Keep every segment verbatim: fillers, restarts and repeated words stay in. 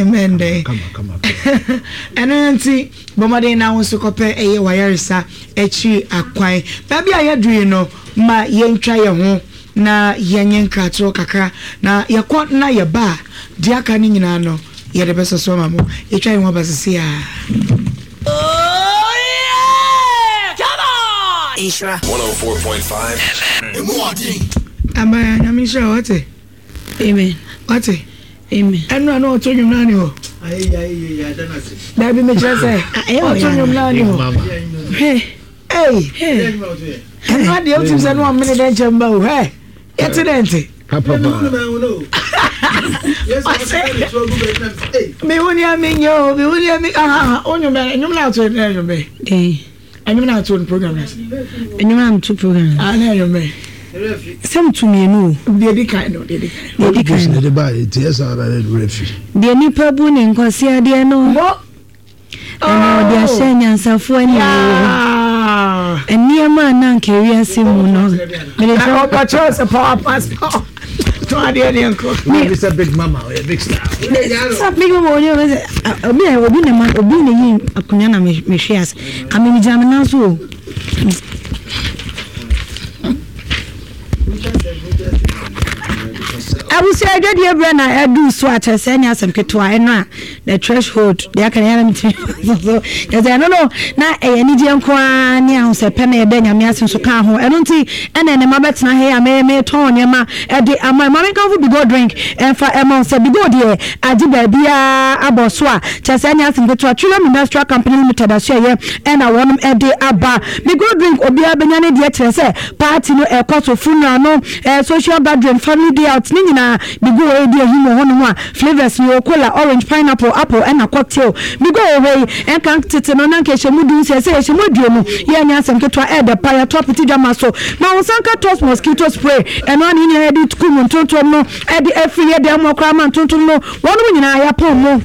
Amen dɛ. Ɛno nti bɔ mmɔden na wo nso kɔpɛ ɛyɛ wayaresa akyiri akwan. Baabi a yɛduru yi no, ma yɛntwa yɛn ho na yɛnyɛ nkratoɔ kakra, na yɛkɔ na yɛba a, deɛ aka no nyinaa no yɛde bɛsɔ so ama mo. Yɛtwa yɛn ho aba sisi a. Oh yeah! Come on! Nhyira. one oh four point five F M. Emu ɔden. Ama Nyame nhyira wo, wate? Amen. Wate? Amen. Ɛno a na ɔto nnwom no ani hɔ. Dabi mekyerɛ sɛ ɔto nnwom no ani hɔ. Hwɛ. Ei. Ɛno adeɛ wotim sɛ ne ɔmene dɛ nkyɛn ba o. Hwɛ. Yɛte dɛ nte. Mehu nea menyɛ o, mehu nea me aha o nnwom bɛ nnwom na ato ne nnwom bɛ. Dɛn. Nnwom na ato no program na. Nnwom na ato program. Ah na nnwom bɛ. Sɛ meto mmienu o. Deɛ di kan no, deɛ di kan. Deɛ di kan no. De ba eti ɛsɛ ara ne werɛ fi. Deɛ nipa bu ne nkwasi adeɛ no. Mo. Ɛna ɔde ahyɛ nyansafoɔ ani wɔ. Nneɛma a na anka ewiase mu no. Mede sɛ ɔbɛkyerɛ sɛ power pass power. To adeɛ ne nkɔ. Mi sɛ big mama ɔyɛ big star. Sɛ big mama ɔyɛ ɔyɛ sɛ obi a obi na ma obi na yi akonnwa na mehwe ase. Ka mi gyina me nan so o. Abusua adwadie berɛ na ɛdu so a kyerɛ sɛ ɛnyɛ asɛm ketewa. Ɛno a the threshold deɛ aka no yɛn ntumi so kyerɛ sɛ ɛno no na ɛyɛ anigyeɛ nko ara ne ahosɛpɛ na yɛda Nyame ase nso ka ho. Ɛno nti ɛna ɛnɛ mabɛtena ha yi a me metɔn nneɛma ɛde ama ma menkamfo Bigo drink ɛmfa ɛma wo sɛ Bigo deɛ agye baabiara abɔ so a kyerɛ sɛ ɛnyɛ asɛm ketewa. Trillium Industrial Company Limited aso ɛyɛ ɛna wɔnom ɛde aba Bigo drink. Obiara bɛnya ne deɛ kyerɛ sɛ party no ɛkɔ so, funeral no, eh, social gathering, family day out ne nyinaa Bigo wɔ ɛdi ahim wɔ hɔnom a flavors no yɛwɔ cola, orange, pineapple, apple ɛna cocktail. Bigo wɔ hɔ yi ɛnka tete no na nka ɛhyɛ mu du nsia, sɛ yɛhyɛ mu aduonu yɛ ɛnyɛ asɛm ketewa. Ɛɛdɛ pa yɛato apete dwama so ma wo nsa nka Toss mosquito spray. Ɛno a ne nyinaa yɛde kum ntontom no ɛde afiri yɛ dan mu koraa ma ntontom no wɔnom nyinaa yɛapɔn mu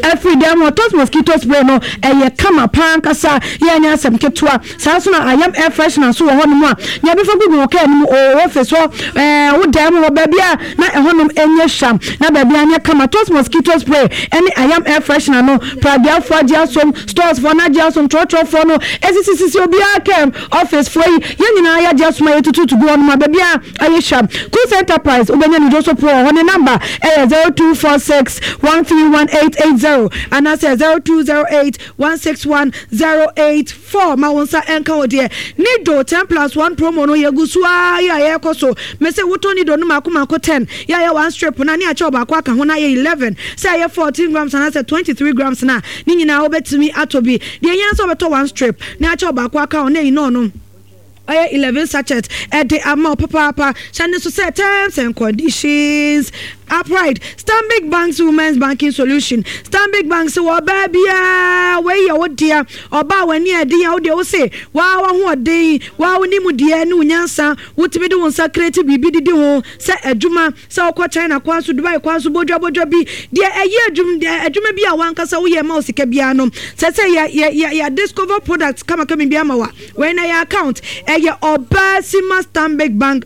afiri dan mu. Toss mosquito spray no ɛyɛ kama paa ankasa, yɛ ɛnyɛ asɛm ketewa. Saa nso na ayam air freshener nso wɔ hɔnom a nea bɛfa gugu wo kaa no mu o office hɔ, ɛɛ wo dan mu hɔ baabi a na ɛhɔnom ɛnyɛ hwam na baabi a nyɛ kama. Toss mosquito spray ɛne ayam air freshener no, pradeafoɔ agye asom, stores foɔ no agye asom, trɔtrɔfoɔ no esisisisi obiara kam, office foɔ yi yɛn nyinaa yɛagye asom a yɛtututu gu hɔnom a baabi a ayɛ hwam. Kus Enterprise wobɛnya ne dwoso po wɔ hɔ. Ne number ɛyɛ zero two four six one three one eight eight zero anaasɛ zero two zero eight one six one zero eight four. Ma wo nsa ɛnka wo deɛ. Nido ten plus one promo no yɛgu so ara yɛ a yɛrekɔ so. Mese wotɔ Nido no mako mako ten yɛ a yɛ one strip na ne akyɛ ɔbaako aka ho na yɛ eleven, sɛ ɛyɛ fourteen grams anaasɛ twenty three grams na ne nyinaa wobɛtumi atɔ bi. Deɛ ehia sɛ wobɛtɔ one strip na akyɛ ɔbaako aka ho na eyi no no ɔyɛ eleven sachet ɛde ama wo papaapa. Hyɛ ne so sɛ terms and conditions apply. Stanbic Bank's Women's Banking Solution. Stanbic Bank sɛ wɔ ɔbaa biara wei yɛ wo dea. Ɔbaa w'ani ɛden a wodeɛ wo se waa w'ahoɔden waa wo nim deɛ ne wo nyansa wotumi de wo nsa create biribi didi ho sɛ adwuma sɛ wokɔ China kwan so, Dubai kwan so, bodwa bodwa bi deɛ ɛyɛ adwuma adwuma bi a wankasa woyɛ ma wo sika biara no sɛ sɛ yɛ yɛ yɛ yɛ discover product kamakama bi ama wa. Wei na yɛ account ɛyɛ Ɔbaa Sima Stanbic Bank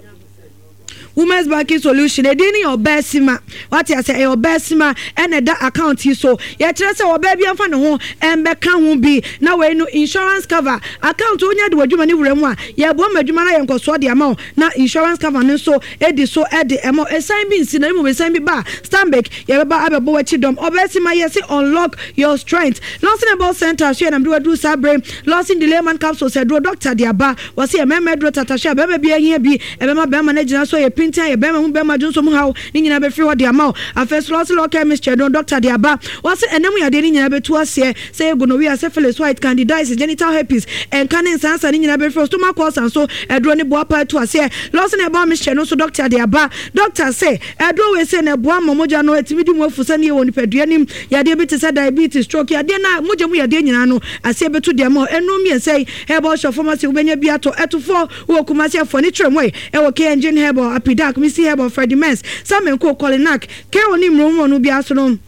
Women's Banking Solution. Edin ne yɛ Ɔbaa Sima, wate ase? Ɛyɛ Ɔbaa Sima ɛna ɛda account yi so. Yɛkyerɛ sɛ ɔbaa bi amfa ne ho ɛmbɛka ho bi na wei no insurance cover account wonya de w'adwuma ne wura mu a yɛboa ma adwuma no ayɛ nkɔsoɔ de ama wo na insurance cover no nso edi so ɛde ɛma ɛsan bi nsi na mmom ɛsan bi ba Stanbic yɛbɛba abɛbɔ w'akyi dɔm. Ɔbaa Sima yɛse unlock your strength. Lawson Herbal Center so yɛ nam de waduru saa bere. Lawson Delayman capsules aduro doctor de aba. Wɔse yɛ mmarima aduro tatahwe a bɛrima bi ahia bi ɛbɛma bɛrima no agyina so yɛ pintin ayɛ bɛrima mu bɛrima dwonso mu haw ne nyinaa bɛfiri hɔ de ama wo. Afei so Lawson Law Chemistry aduro doctor de aba. Wɔse ɛnam yadeɛ ne nyinaa bɛtu aseɛ sɛ yɛ gonorrhea, syphilis, white, candidiasis, genital herpes, ɛnka ne nsansa ne nyinaa bɛfiri hɔ. Stomach ulcer nso aduro ne boa pa atu aseɛ. Lawson Herbal Mixture no nso doctor de aba. Doctor se aduro wei se na ɛboa ma mogya no ɛtumi di mu afu sɛ ne yɛ wɔ nipadua nim yadeɛ bi te sɛ diabetes, stroke, yadeɛ na mogya mu yadeɛ nyinaa no aseɛ bɛtu deɛ ma ɛnum mmiɛnsa yi. Herbal Shop Pharmacy wobɛnya bi atɔ. Ɛtofoɔ wɔ Kumasi afoɔ ne kyerɛ mu ɛwɔ K Engine Herbal, Apidak, Missy Herbal, Freddie Mens, Samenko, Kolinak, K Oni mmuro no bi aso no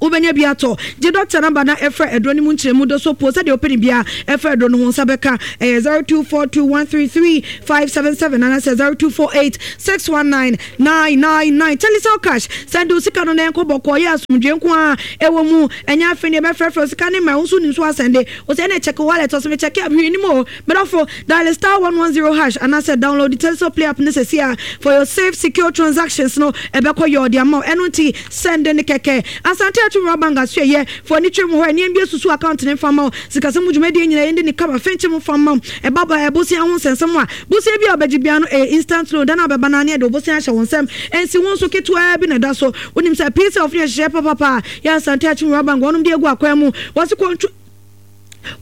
Wobɛnya bi atɔ. Gye dɔkta namba na ɛfrɛ aduro no mu nkyerɛmu do so po sɛdeɛ wopɛ ne bia ɛfrɛ aduro no ho nsa bɛka. Ɛyɛ zero two four two one three three five seven seven anaasɛ zero two four eight six one nine nine nine nine. Telecel Cash, sɛnde wo sika no na ɛnkɔ bɔkɔɔ, yɛ asomdwe nko a ɛwɔ mu. Ɛnyɛ afei ne yɛbɛfrɛfrɛ wo sika ne ma wo nso nim so asɛnde wo sɛ ɛne check wallet ɔsɛ mekyɛke a hwee nim o. Medɔfo, dial star one one zero hash anaasɛ download the Telecel Play app ne sɛsi a for your safe, secure transactions no ɛbɛkɔ yɛ ɔde ama wo. Ɛno nti sɛnde ne kɛkɛ. Asante Akyem Rural Bank aso ɛyɛ fo ani twɛ mu hɔ ɛneɛm bi asusu account ne mfa ma wo. Sikasɛm mu dwumadie nyinaa yɛndi ne kama fɛnkyɛ mu fa ma wo. Ɛba ba ɛbosia ho nsɛnsɛm a bosia bi a wobɛgye bia no ɛyɛ instant loan. Da no a wobɛba no ne ɛde wo bosia ahyɛ wo nsɛm, ɛnsi ho nso ketewaa bi na ɛda so. Wonim sɛ P S F ne ɛhyehyɛ papapa a yɛ Asante Akyem Rural Bank wɔnom de agu akwan mu. Wɔse kɔntro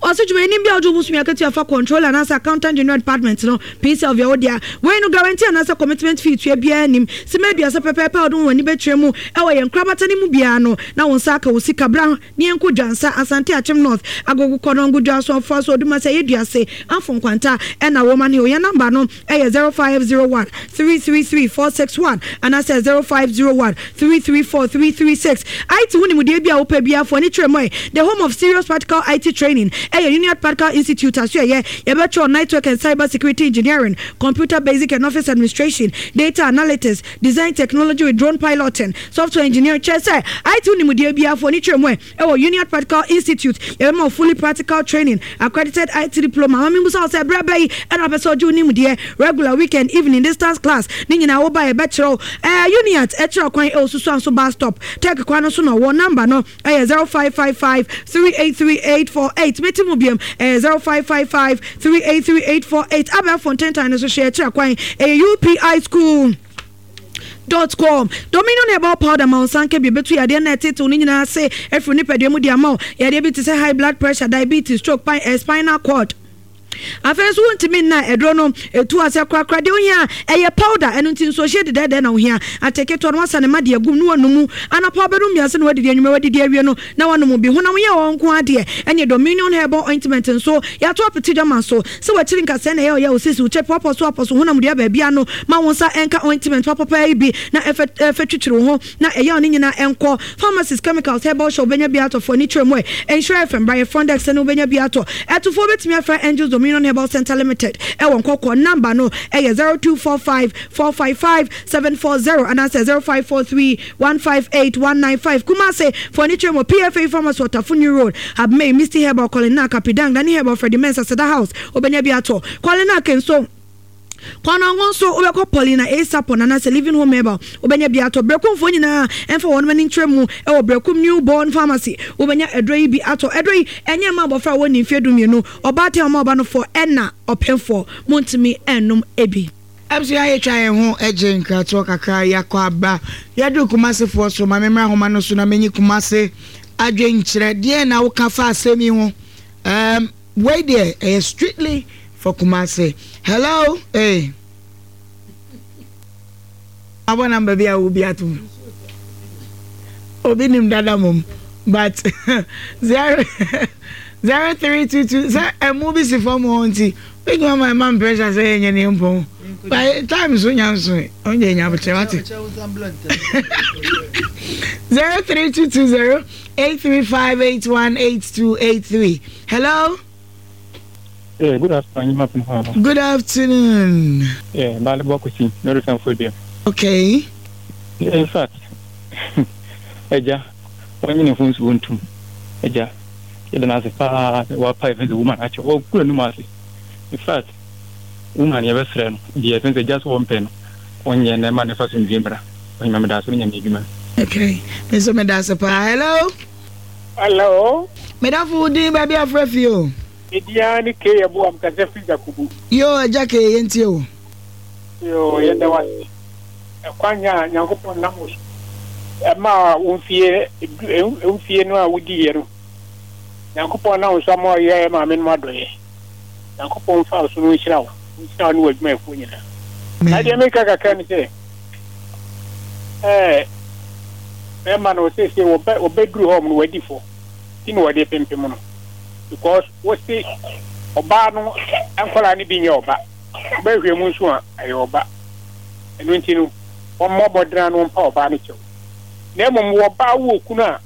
ɔsɛ dwumayɛnim bi a wogye wo bosome akatua fa controller anaasɛ Accountant General Department no, P C L via wo dea. Wei no, guarantee anaasɛ commitment fee tua biara nim. Sima aduasa pɛpɛɛpɛ a wode wo w'ani bɛkyerɛ mu ɛwɔ yɛn nkorabata no mu biara no na wo nsa aka wo sika. Bra ne yɛnkɔ Dwansa, Asante Akyem North, Agogo, Kɔnɔngo, Dwaso, Afoa so, Odumase, ɛyɛ Duase, Amfo Nkwanta ɛna Roman Hill. Yɛn number no ɛyɛ zero five zero one three three three four six one anaasɛ zero five zero one three three four three three six. I T ho nimdeɛ bi a wopɛ biara, ani kyerɛ mu ɛ the home of serious practical I T training ɛyɛ Union Practical Institute aso ɛyɛ yɛbɛtwerɛ network and cyber security engineering, computer basic and office administration, data analytics, design technology with drone piloting, software engineering. Kyerɛ sɛ I T ho nimdeɛ biara, ani kyerɛ mu ɛ ɛwɔ Union Practical Institute. Yɛbɛma fully practical training, accredited I T diploma. Maame musa sɛ berɛ bɛyi ɛna apɛ sɛ ɔgye wo nimdeɛ, regular, weekend, evening, distance class ne nyinaa woba yɛbɛkyerɛw. Ɛɛ Uniat ɛkyerɛ kwan ɛwɔ Susu bus stop, Tech kwan no so na ɔwɔ. Number no ɛyɛ zero five five five three eight three eight four eight. Meti mu biam, ɛyɛ zero five five five three eight three eight four eight. Abɛɛfo ntentan no so hyɛ ɛkyerɛ kwan ɛyɛ U P I school dot com. Dominion Herbal Powder ma nsa nka bi ebetu yadeɛ na ɛtetew ne nyinaa ase efiri nipadua mu di ama wo. Yadeɛ bi te sɛ high blood pressure, diabetes, stroke, pine, eh, spinal cord. Afei nso wontumi nna, ɛduro no ɛtu asɛ korakora. Deɛ ohia ɛyɛ powder. Ɛno nti nsuohyɛ dedɛɛdɛɛ na ohia ate ketewa no wasa ne ma deɛ gum ne wanom anapa wobɛnom mmiɛnsa na wadidi, anwummerɛ wadidi awie no na wanom bi. Honam yɛ wɔn nko adeɛ. Ɛne Dominion Herbal Ointment nso yɛato apete dwama so sɛ wakyiri nkasɛɛ na ɛyɛ ɔyɛ osisi wokyɛ pɔpɔ so apɔ so honam dua baabi ano ma wo nsa ɛnka ointment papapa yi bi na ɛfɛ ɛfɛ twitwiri wo ho na ɛyɛ ɔne nyinaa ɛnkɔ. Pharmacies, chemicals, herbal shop wobɛnya bi atɔ. Fo ani kyerɛ mu ɛ Nhyira F M brayɛ front desk ne wobɛnya bi atɔ. Ɛtofoɔ bɛtumi afrɛ Angels Dominion Herbal Center Limited ɛwɔ Nkɔkɔ. Number no ɛyɛ zero two four five four five five seven four zero anaasɛ zero five four three one five eight one nine five. Kumase, fo ani kyerɛ mu P F A Pharmacy, Ɔtafo New Road, Abmei Misty Herbal, Colin Kapidang, Dani Herbal, Freddie Mensa, Seda House wobɛnya bi atɔ. Colin Akenso kwanango nso wobɛkɔ Paulina Asapon anaasɛ Living Home Herbal wobɛnya bi atɔ. Brɛkumfoɔ nyinaa ɛmfa wɔn ani nkyerɛ mu ɛwɔ Brɛkum New Born Pharmacy, wobɛnya aduro yi bi atɔ. Aduro yi ɛnyɛ mma abɔfra a wɔnni mfeɛ du mmienu, ɔbaatan a ɔma ɔba no fɔ ɛna ɔpɛnfoɔ montumi ɛnnom ebi. Abusua, yɛtwa yɛn ho gye nkratoɔ kakra, yɛakɔ aba. Yɛduru Kumasefoɔ so. Ma memmra ahoma no so na menyi Kumase adwenkyerɛ. Deɛ na woka fa asɛm yi ho? um, wei deɛ ɛyɛ strictly for Kumase. Hello, hey. Abɔ number bi a wo bi ato mu, obi nim dada mom, but zero zero three two two sɛ ɛmu bi si fam hɔ nti big mama ɛma m pressure sɛ yɛnyɛ ne mpɔn by time so nya nso ɔnyɛ nya abokyerɛ wate. Zero three two two zero eight three five eight one eight two eight three. Hello. Yeah, good afternoon. Good afternoon. Yeah, Bale Bokusi, no reason. Okay. Yeah, in fact, Eja, when you phone so ntum. Eja, yɛda no ase paa sɛ wapa ɛfɛ sɛ woman akyɛ wɔkura num ase. In fact, woman yɛbɛsrɛ no deɛ ɛfɛ sɛ gya so wɔmpɛ no ɔnyɛ na ɛma ne fa so nwie mmra. Ɔnyima meda ase no nyame adwuma. Okay. Me so meda ase paa. Hello. Hello. Medafo, wo din, baabi afrɛ fi o? Ediya ne ke yɛ bo am kasa firi Jakubu. Yo, agya ke, yɛntie o. Yo, yɛda wase. Ɛkwan a Nyankopɔn nam wo so ɛma wo mfie mfie no a wodiiɛ no. Nyankopɔn nam wo so ama ɔyɛ maame no adɔeɛ. Nyankopɔn mfa wo so no nhyira wo. Nhyira wo ne w'adwumayɛfoɔ nyinaa. Na deɛ meka kakra ne sɛ, ɛɛ bɛrima no seesei wɔbɛ wɔbɛduru hɔ no wadi fɔ ti na wɔde pempem no because wɔsi ɔbaa no nkɔlaa no bi nyɛ ɔba, ɔbɛhwɛ mu nso a ɛyɛ ɔba. Ɛno nti no wɔmmɔ mmɔdena no mpa ɔbaa no kyɛw, na mmom wɔbaa wɔ kunu a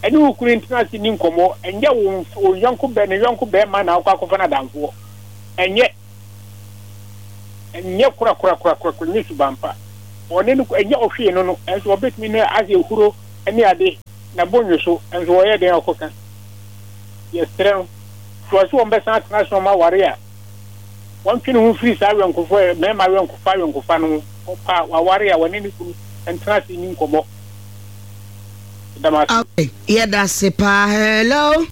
Ɛne wo kunu ntena ase ni nkɔmmɔ. Ɛnyɛ wo wo yɔnko bɛ ne yɔnko bɛrima na akɔ akɔfa no adamfoɔ. Ɛnyɛ ɛnyɛ kora kora kora kora kora nyɛ suban pa. Ɔne no ɛnyɛ ɔhwee no no ɛnso ɔbɛtumi ne ase ehuro ɛne ade na bonyo so ɛnso ɔyɛ den ɔkɔka. Yɛsrɛ no so ɔsɛ wɔn bɛsan atena so ɔma aware a wɔntwe ne ho firi saa awɛnkofo mmarima awɛnkofa awɛnkofa no ho. Ɔpa waware a wɔne ne kunu ntena ase ni nkɔmmɔ. Dama. Okay, yɛda se paa. Hello.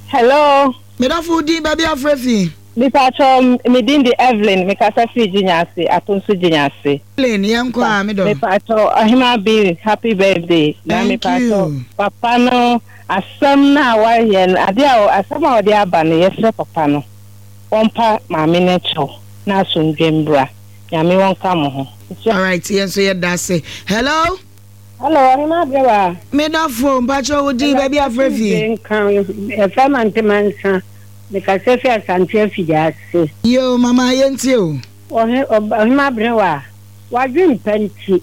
Hello. Medafo, din, baabi afrɛ fi? Mipatɔ, me din de Evelyn, mekasa firi Gyinyase, Atonso Gyinyase. Evelyn, yɛnkɔ a medɔ. Mipatɔ, Ɔhema bi, happy birthday. Na Thank mipatɔ, you. Papa no, asɛm no a wayɛ no, ade a asɛm a ɔde aba no, yɛsrɛ papa no, wɔmpa maame no kyɛw na asomdwe mbra. Nyame wɔnka mo ho. Alright, yɛn nso yɛda ase. Hello. Hello, Ɔhema Abrewa. Medafo, mpakyɛ wo din, baabi afrɛ fi? Nka ɛfɛ mantemansa. Mekasa fi Asante Afigya ase. Yo, mama, yɛntie o. Ɔhe Ɔhema Abrewa, wadwempa nti.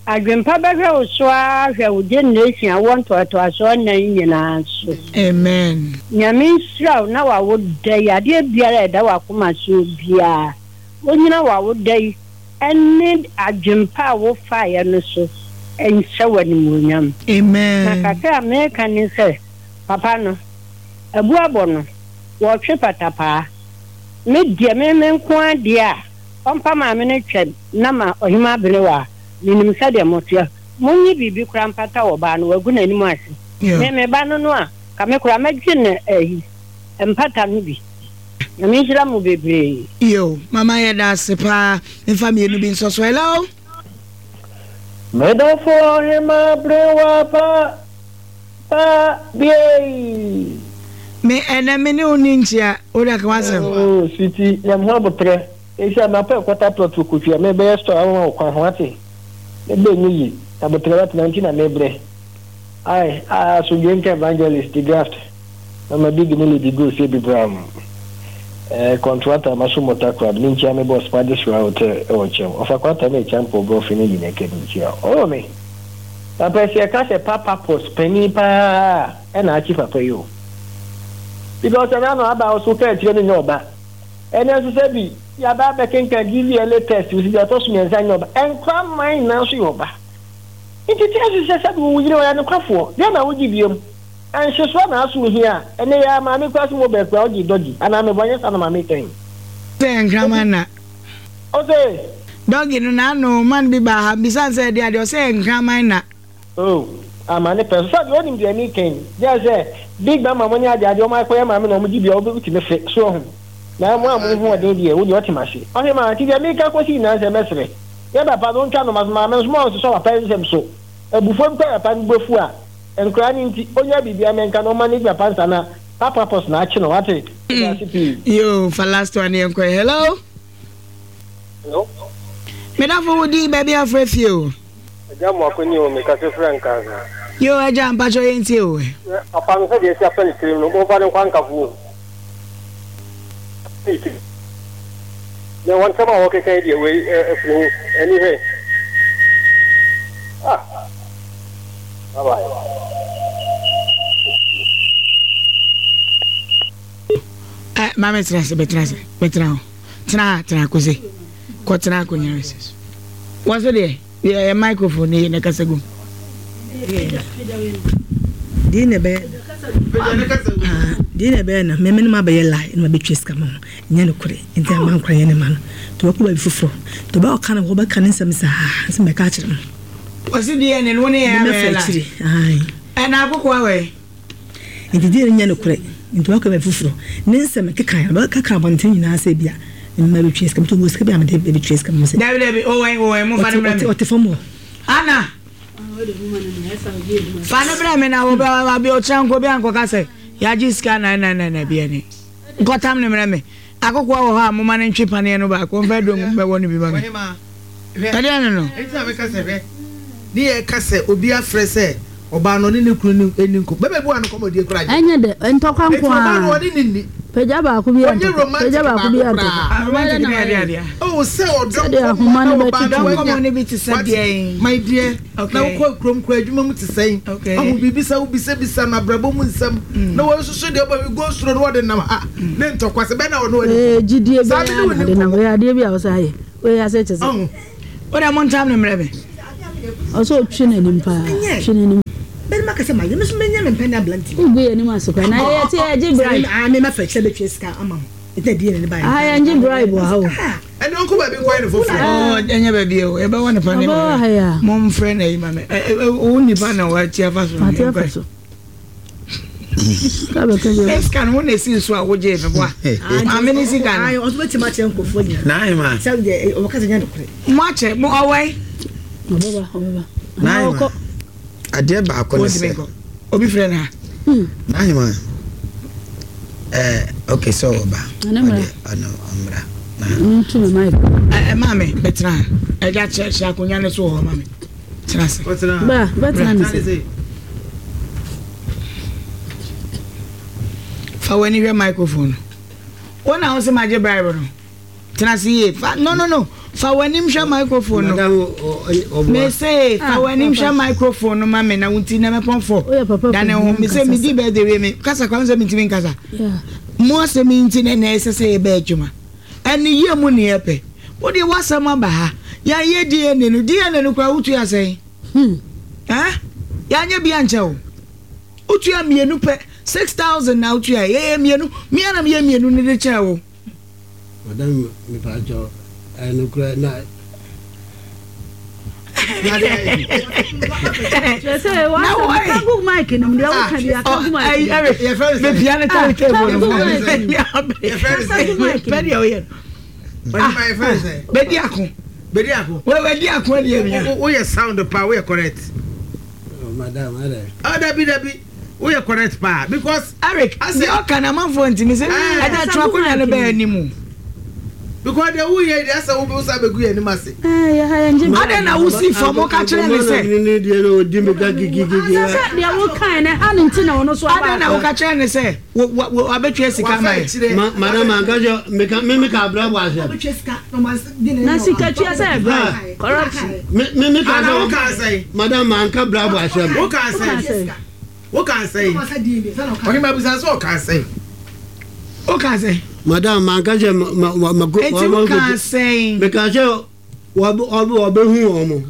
Adwempa bɛhwɛ wo so ara hwɛ wo generation a wɔ ntoatoasoɔ nnan nyinaa so. Amen. Nyame nhyira wo na wawo da yi, adeɛ biara a ɛda w'akoma so biara, wonyina wawo da yi ɛne adwempa a wofaeɛ no so nhyɛ w'animuonyam. Amen. Na kakra a meka ne sɛ, papa no, abu abɔ no, wɔtwe patapaa. Me deɛ, me me nko adeɛ a, ɔmpa maame no twɛm na ma Ɔhema Aberewa a, menim sɛdeɛ moteɛ. Monye biribi koraa mpata wɔ baa no, wagu n'anim ase. Yeah. Me me ba no no a, ka me koraa mɛgye no ayi, mpata no bi. Nyame nhyira mo bebree. Yo, mama, yɛda ase paa. Mfa mmienu bi nso so. Hello. Medɔfo Ɔhema Abrewa pa pa biei. Me ɛnɛ me ne wo ni nkyia wode aka w'asɛm. Oh, sweetie, nyam ho abotrɛ. Esi a mapɛ quarter plot wɔ Kofi a mebɛyɛ store ama wo kwan ho ate. Mebɛ nye yi, abotrɛ watena nti na mebrɛ. Ai, a asomdwe nka Evangelist the graft. Mama Big ne Lady Go sɛ bi bram. Eh, contractor maso mota crowd. Me nkyia me boss Padi Sra Hotel ɛwɔ kyɛm. Ɔfa kwata ne champo brɔfi ne nyina kɛ me nkyia. Oh me. Papa si ɛka sɛ papa pos panin paa ɛna akyi papa yi o. Because ɛna no aba so ka akyerɛ no nyɛ ɔba. Ɛnɛ nso sɛ bi yaba abɛkenkan D V L A test si deɛ ɔtɔ so mmiɛnsa nyɛ ɔba. Ɛnkora man nyinaa nso yɛ ɔba. Nti tí a sɛ sɛ bi wo yere ɔyɛ nokwafoɔ deɛ na wogye biom. Ɛnhyesoɔ na aso hia a ɛnɛ yɛ maame kura so mo bɛɛ kura ɔgye dɔgye anaa mebɔ nyɛ sa na maame kɛn. Sɛ nkraman na. Ɔsɛ. Dɔgi no n'ano man bi ba ha bisa sɛ ɛde adeɛ ɔsɛ nkraman na. Oh, ama ne pɛ so sɛ deɛ ɔnim deɛ mi kɛn deɛ sɛ big mama mo ne ade ade ɔmo akɔyɛ maame na ɔmo gye bia ɔbɛtumi fe so ɔho na mo a mo ho ɔden deɛ wo deɛ ɔte ma se ɔhe ma nti deɛ meka kɔsi nyinaa sɛ mɛsrɛ yɛ papa no ntwa no ma so maame nso mo a ɔsosɔ papa nsɛm so abufuo bi kɔ papa no bɛfu a nkora ne nti onya biribi amɛnka na ɔma ne papa nsa na papa pɔs na akye no wate ase pii. Yo, fa last one yɛn kɔ. Hello. Hello. Medafo, wo din, baabi afrɛ fie o? Agya mu akɔni o, mekasa fira Nkansa. Yo, agya, mpakyɛ yɛntie o. Papa no, sɛdeɛ ɛsi afa ne tirim no, momfa ne nkwa nkafo o. Na wɔn nsɛm a wɔkeka yi deɛ, wei afiri ho ani hwɛ. Ah, bye bye. Ɛ maame, tena ase, bɛtena ase, bɛtena hɔ, tena ha, tena kose kɔ tena akonnwa no so. Wɔn so deɛ yɛ microphone ne yɛ na kasa gum. Deɛ na ɛbɛyɛ deɛ na ɛbɛyɛ no mɛmɛ no ma bɛyɛ lie na ma bɛtwa sika ma ho nyɛ no korɛ nti ama nkora yɛ ne ma no nti wɔkɔ baabi foforɔ nti ɔbɛ ɔka no wɔbɛka ne nsɛm saa sɛ mɛka akyerɛ no. Wɔsi D N A no wo ne yɛ abɛyɛ lie ɛna akoko awɛ. Nti deɛ no nyɛ no korɛ nti wɔkɔ baabi foforɔ ne nsɛm keka bɛkeka abɔnten nyinaa sɛ bia mma bɛtwa sika nti ɔwɔ sika bi a mede bɛtwa sika mu sɛ. Dabi dabi, ɔwɛn ɔwɛn mo fa ne brɛ mi. Ɔte fam hɔ. Ana fa ne brɛ mi na wo bɛ abi ɔkyerɛ nko bi ankɔka sɛ yagye sika nan nan nan na bi ɛni nkɔtam ne mmerɛ mi. Akoko wɔ hɔ a moma ne ntwe paneɛ no baako mfa duro bɛwɔ no bi ma mi ɛdeɛ no no. Ɛnti na meka sɛ hwɛ ne yɛ ka sɛ obi afrɛ sɛ Ɔbaa no ne ne kunu ne ni nkɔ bɛbɛ bi wa no kɔmɔ die kura gye. Ɛnyɛ dɛ ntɔkwa nko a. Ɔbaa no ɔne ne ni. Pagya baako bi antɔkwa pagya baako bi antɔkwa. Romantic ne adeɛ adeɛ. O sɛ ɔdɔ sɛdeɛ ahoma no bɛtutu. Ɔdɔ nkɔmɔ ne bi te sɛ deɛ. My dear na wokɔ kurom kura adwuma mu te sɛn. Ɔho biribi sɛ wobisabisa no abrabɔ mu nsɛm na wɔnsoso deɛ ɔba bi go soro no wɔde nam ha ne ntɔkwa sɛ bɛn na ɔno ɔde. Gyidie bɛyɛ ade na wɔyɛ adeɛ bi a wɔsɛ ayɛ wɔyɛ asɛ kyɛ sɛ. Wọ́n mo ntam ne mmerɛ mi. Ɔsɛ otwi n'anim paa twi n'anim. Bẹ́ẹ̀ni ma kẹsẹ̀ ma yẹ mẹsùn mẹnyẹ mi mpẹ ní abirante. Ugu yẹ ni mu asopẹ na yẹ ti yẹ gye bribe. Aa mi ma fẹ kyerẹ bẹ twi sika ama mo ètò ẹdi yẹn ni báyìí. Aha yẹn gye bribe wɔ ha o. Ẹni wọn kó baabi nkɔ yẹn ni foforo. Ɔ ɛnyɛ baabi o ẹ bɛ wɔ nipa ne ma mo n fɛ na yi ma mɛ ɛ ɛ o nipa na wa ti afa so. Ati afa so. Sika no wo na esi so a wogye me boa. Maame ne sika no. Ɔso bɛtumi akyerɛ nkurɔfoɔ nyinaa. Naima. Sɛ deɛ ɔbɛka sɛ nyɛ nokorɛ. Mo akyɛ mo ɔwɛn. Ɔbɛba ɔbɛba. Naima. Adeɛ baako ne sɛ. Obi frɛ no ha. Naima. Ɛɛ okay sɛ ɔba. Ɔde ɔno ɔmmra. Ntu me mic. Ɛ maame bɛtena ha. Ɛgya kyerɛ kyerɛ akonnwa no so wɔ hɔ maame. Tena ase. Ba bɛtena ne se. Fa w'ani hwɛ microphone wɔn na wɔsɛ magye bribe no tena ase yie fa no no no fa w'anim hwɛ microphone no mese fa w'anim hwɛ microphone no ma me na wonti na mɛpɔn fɔ dane ho mese medi birthday wie me kasa kwa sɛ mentimi nkasa mo asɛm yi nti na ɛnɛ ɛsɛ sɛ yɛbɛ adwuma ɛne yie mu ne yɛpɛ wode w'asɛm aba ha yɛayɛ D N A no D N A no koraa wotua sɛn yɛanyɛ bi ankyɛ wo wotua mmienu pɛ six thousand na wotua yɛyɛ mmienu mmea na meyɛ mmienu ne de kyerɛ wo. Madam mepaakyɛw ɛno kura na. Na wo mic no deɛ woka bi aka gu mic. Mepia ne tare table no. Pɛ deɛ woyɛ no. Bɛdi ako. Bɛdi ako. Wɛdi ako deɛ mia. Woyɛ sound pa woyɛ correct. Madam adɛ. Oh dabi dabi. We are correct pa because Eric the okan amanfo ntimi se ada twa akonya no ba animu because the wo ye dey say wo be usa begu ye anim ase eh ya ha nje ada na wo si fam o ka kire ne se ni de no odi me ka gigigigi se de wo kan ne ha nti na wono so aba ada na wo ka kire ne se wo wo abetwa sika mai madam anka jo me ka me me ka bra bo ase na sika twa se bra corruption me me me ka wo ka say madam anka bra bo ase wo ka say What can I say? Okay, my business. What can I say? What can I say? Madam, man, can say ma ma ma. What can I say? Because you, what what what be who omo.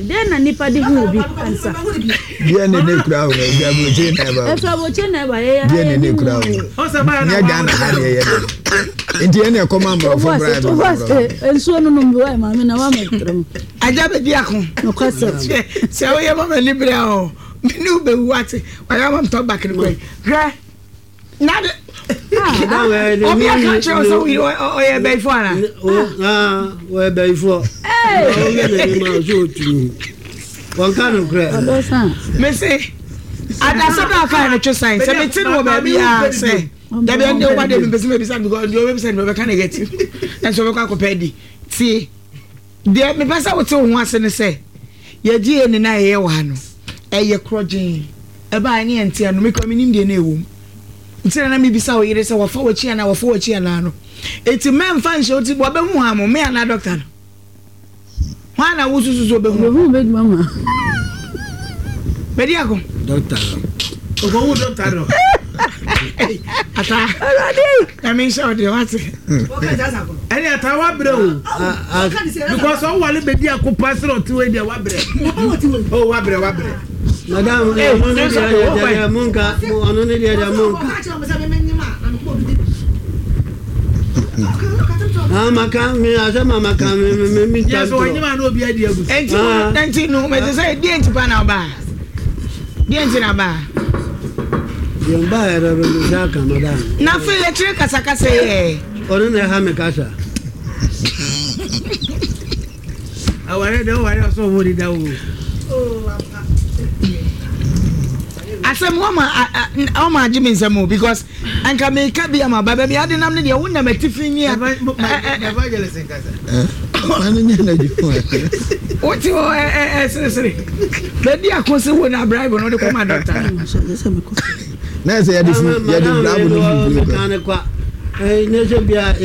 Then na nipa di hu obi ansa. Dia ne ne kura o, dia bo che na ba. E fa bo che na ba ye. Dia ne ne kura o. Nya Ghana ha ne ye. Nti ene e koma mbro fo bra. Ensuo no no mbo e ma me na wa me trom. Aja be di ako. No kwase. Se wo ye ma me libre o. Me ni be wu ate. Wa ya ma mto back ni koi. Hwe. Na de obi aka kyerɛ sɛ ɔyɛ bɛyifo ana? Ɔyɛ bɛyifo. Wɔnka no korɛ. Mese adasɛm na ɔka no twe sign sɛ mete no wɔ baabi a sɛ dabi ɛnde woba deɛ mempɛ sɛ mebisa no because deɛ ɔbɛbisa no bɛka negative ɛnso ɔbɛkɔ akɔpɛ adi tie deɛ mepɛ sɛ wote wo ho ase ne sɛ yɛgye yɛ ne na ɛyɛ wɔ ha no ɛyɛ korɔgyee ɛbaa ne yɛnte ano mekɔ menim deɛ na ɛwɔ mu nti na mebisa wo yere sɛ wɔfa w'akyi anaa wɔfa w'akyi anaa no eti mɛmfa nhyɛ wo ti wɔbɛhu ha mo me anaa dɔkta no hwan na wosusu so bɛhu bɛhu bɛdwuma ma bɛdi ako dɔkta no ɔkɔhu dɔkta no ata na menhyɛ wo deɛ wate ɛne ata wabrɛ o because ɔwale bɛdi ako pa sɛ ɔte wei deɛ wabrɛ o wabrɛ wabrɛ Madam, ɔno ne deɛ monka ɔno ne deɛ monka ah maka me asɛ ma maka me me me yes ɔnyima na obi adi agu enti enti no me sɛ deɛ nti pa na ɔba deɛ nti na ba deɛ mba yɛrɛ bɛ me sa ka madam na afei yɛkyerɛ kasakasa yɛ ɔno na ɛha me kasa aware de ɔware ɔsɛ ɔmo deda o asɛm wɔma ɔma agye me nsɛm o because anka meka bi ama ba baabi ade nam ne deɛ wo nam atifi ni a evangelist nkasa Ɔno nyɛ n'adwuma. Wote hɔ ɛ ɛ ɛ seresere. Baabi a ko se wo na bribe no de kɔma dɔkta. Na ɛsɛ yɛde fu yɛde bribe no fufuo kɔ. Ne kwa. Ne sɛ bia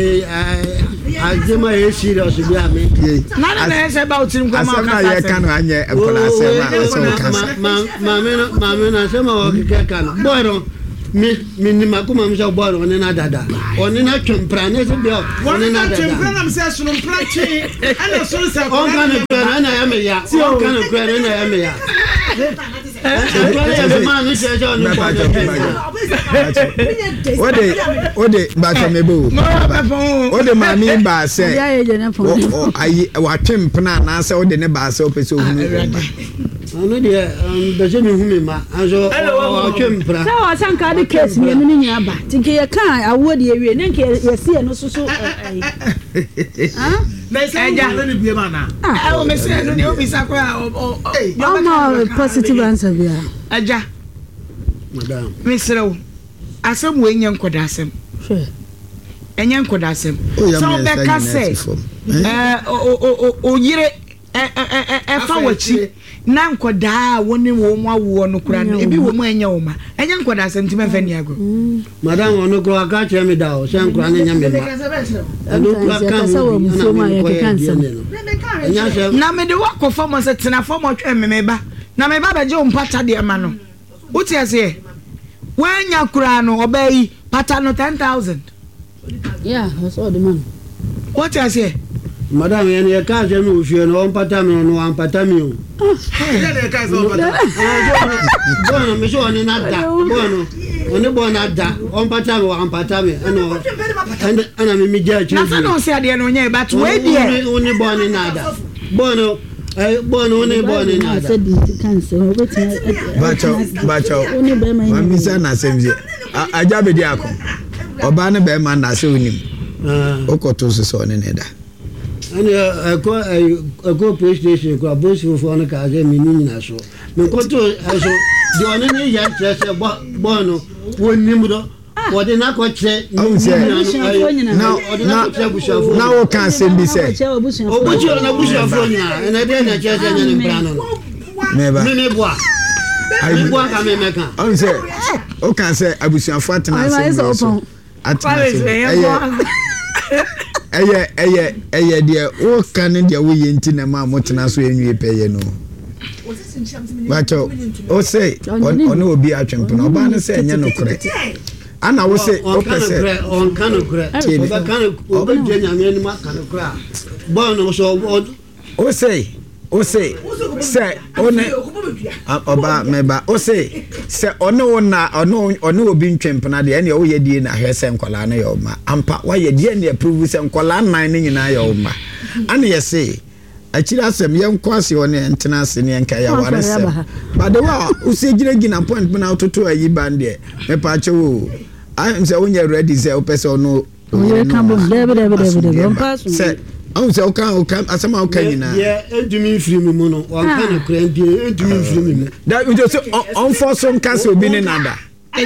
adwuma yɛ serious bi a me. Na na na ɛsɛ ba wotirim kɔ ma ɔkasa. Asɛm a yɛka no anyɛ nkɔla asɛm a ɛsɛ ɔka sa. Maame no maame no asɛm a wɔkeka ka no. Boy no me me ni makoma mi sɛ boy no ɔne na dada. Ɔne na twempra ne sɛ bia ɔne na dada. Twempra na sɛ sono mpra twe. Ɛna sono sɛ ɔnka ne kura na ɛna yɛ me ya. Ɔnka ne kura na ɛna yɛ me ya. Ode ode bacho mebo ode maame ba sɛ ayi watwe mpena anaasɛ wode ne ba sɛ wopɛ sɛ ohunu wo mma. Ɔno deɛ mpɛ sɛ mehu me mma nso ɔtwe mpena. Sɛ ɔsɛ nka de case mmienu no nyinaa ba nti nka yɛka awoɔ deɛ wie ne nka yɛsi ɛno so so ɔma positive answer bia. Agya madam mesrɛ wo asɛm wei nyɛ nkɔda asɛm ɛnyɛ nkɔda asɛm sɛ wobɛka sɛ oyere ɛfa w'akyi na nkɔdaa a wɔne wɔn mu awoɔ no kora no ebi wɔ mu ɛnyɛ wɔn ma ɛnyɛ nkɔda asɛm nti mɛmfɛ ni agorɔ. Madam ɔno kora aka kyerɛ me da o sɛ nkora no nyɛ me ma ɛno kora ka ho bi ɛna mekɔyɛ D N A no ɛnyɛ sɛ na mede wakɔ fam sɛ tena fam ɔtwɛn me me ba na me ba bɛgye wo mpata deɛ ma no wote aseɛ woanya koraa no ɔbaa yi pata no ten thousand. Yeah, that's all the man. Wote aseɛ. Madam yɛn yɛ kaa sɛ mi wɔ fie no ɔmpata mi no wampata mi o. Bɔɔl no mi sɛ ɔne na da bɔɔl no ɔne bɔɔl na da ɔmpata mi wampata mi ɛna ɛna ɛna mi mi gya akyire na sɛ na ɔsɛ adeɛ no ɔnyɛ but wei deɛ. Ɔne bɔɔl ne na da bɔɔl no bɔɔl no ɔne bɔɔl ne na da. Bakyɛw bakyɛw mamisa na asɛm sɛ agya bɛdi ako ɔbaa ne bɛrima na asɛ onim wokɔto so sɛ ɔne ne da. Ɛne ɛkɔ ɛkɔ police station kɔ apolisifoɔ no kaa sɛ meni nyina so mekɔto ɛso deɛ ɔne ne yɛ kyerɛ sɛ bɔɔ no wɔnim dɔ wɔde no akɔkyerɛ na woka asɛm bi sɛ ɔbɔkyerɛ no abusuafoɔ nyinaa ɛnɛ deɛ na kyerɛ sɛ nyɛ ne mpra no no memeboa meboa ka memɛka ɔhu sɛ woka sɛ abusuafoɔ atena asɛm wei so atena asɛm ɛyɛ ɛyɛ ɛyɛ ɛyɛ deɛ woka ne deɛ woyɛ nti na ma motena so enwie pɛyɛ no bakyɛw o se ɔne obi atwempena ɔbaa no sɛ ɛnyɛ nokorɛ ana wo se wopɛ sɛ ɔnka nokorɛ ɔbɛka no ɔbɛgye nyame anim aka nokorɛ a bɔɔ no so o se o se sɛ ɔne ɔbaa mɛba o se sɛ ɔne wo na ɔne ɔne obi ntwempena deɛ ɛne ɔyɛ die na ahwɛ sɛ nkɔlaa no yɛ ɔma ampa wayɛ deɛ ne approve sɛ nkɔlaa nnan no nyinaa yɛ ɔma ana yɛ se akyiri asɛm yɛnkɔ ase hɔ ne yɛntena ase ne yɛnka yɛaware sɛm but the way a wosi gyinagyina point bi na wototo ayi ban deɛ mepa akyɛ wo ayɛ sɛ wonyɛ ready sɛ wopɛ sɛ ɔno oyere ka bom dɛbi dɛbi dɛbi dɛbi ɔmpa so sɛ ɔhu sɛ woka woka asɛm a woka nyinaa deɛ ɛntumi mfiri me mu no ɔnka no korɛ deɛ ɛntumi mfiri me mu da nti sɛ ɔmfɔ so nka sɛ obi ne nada nti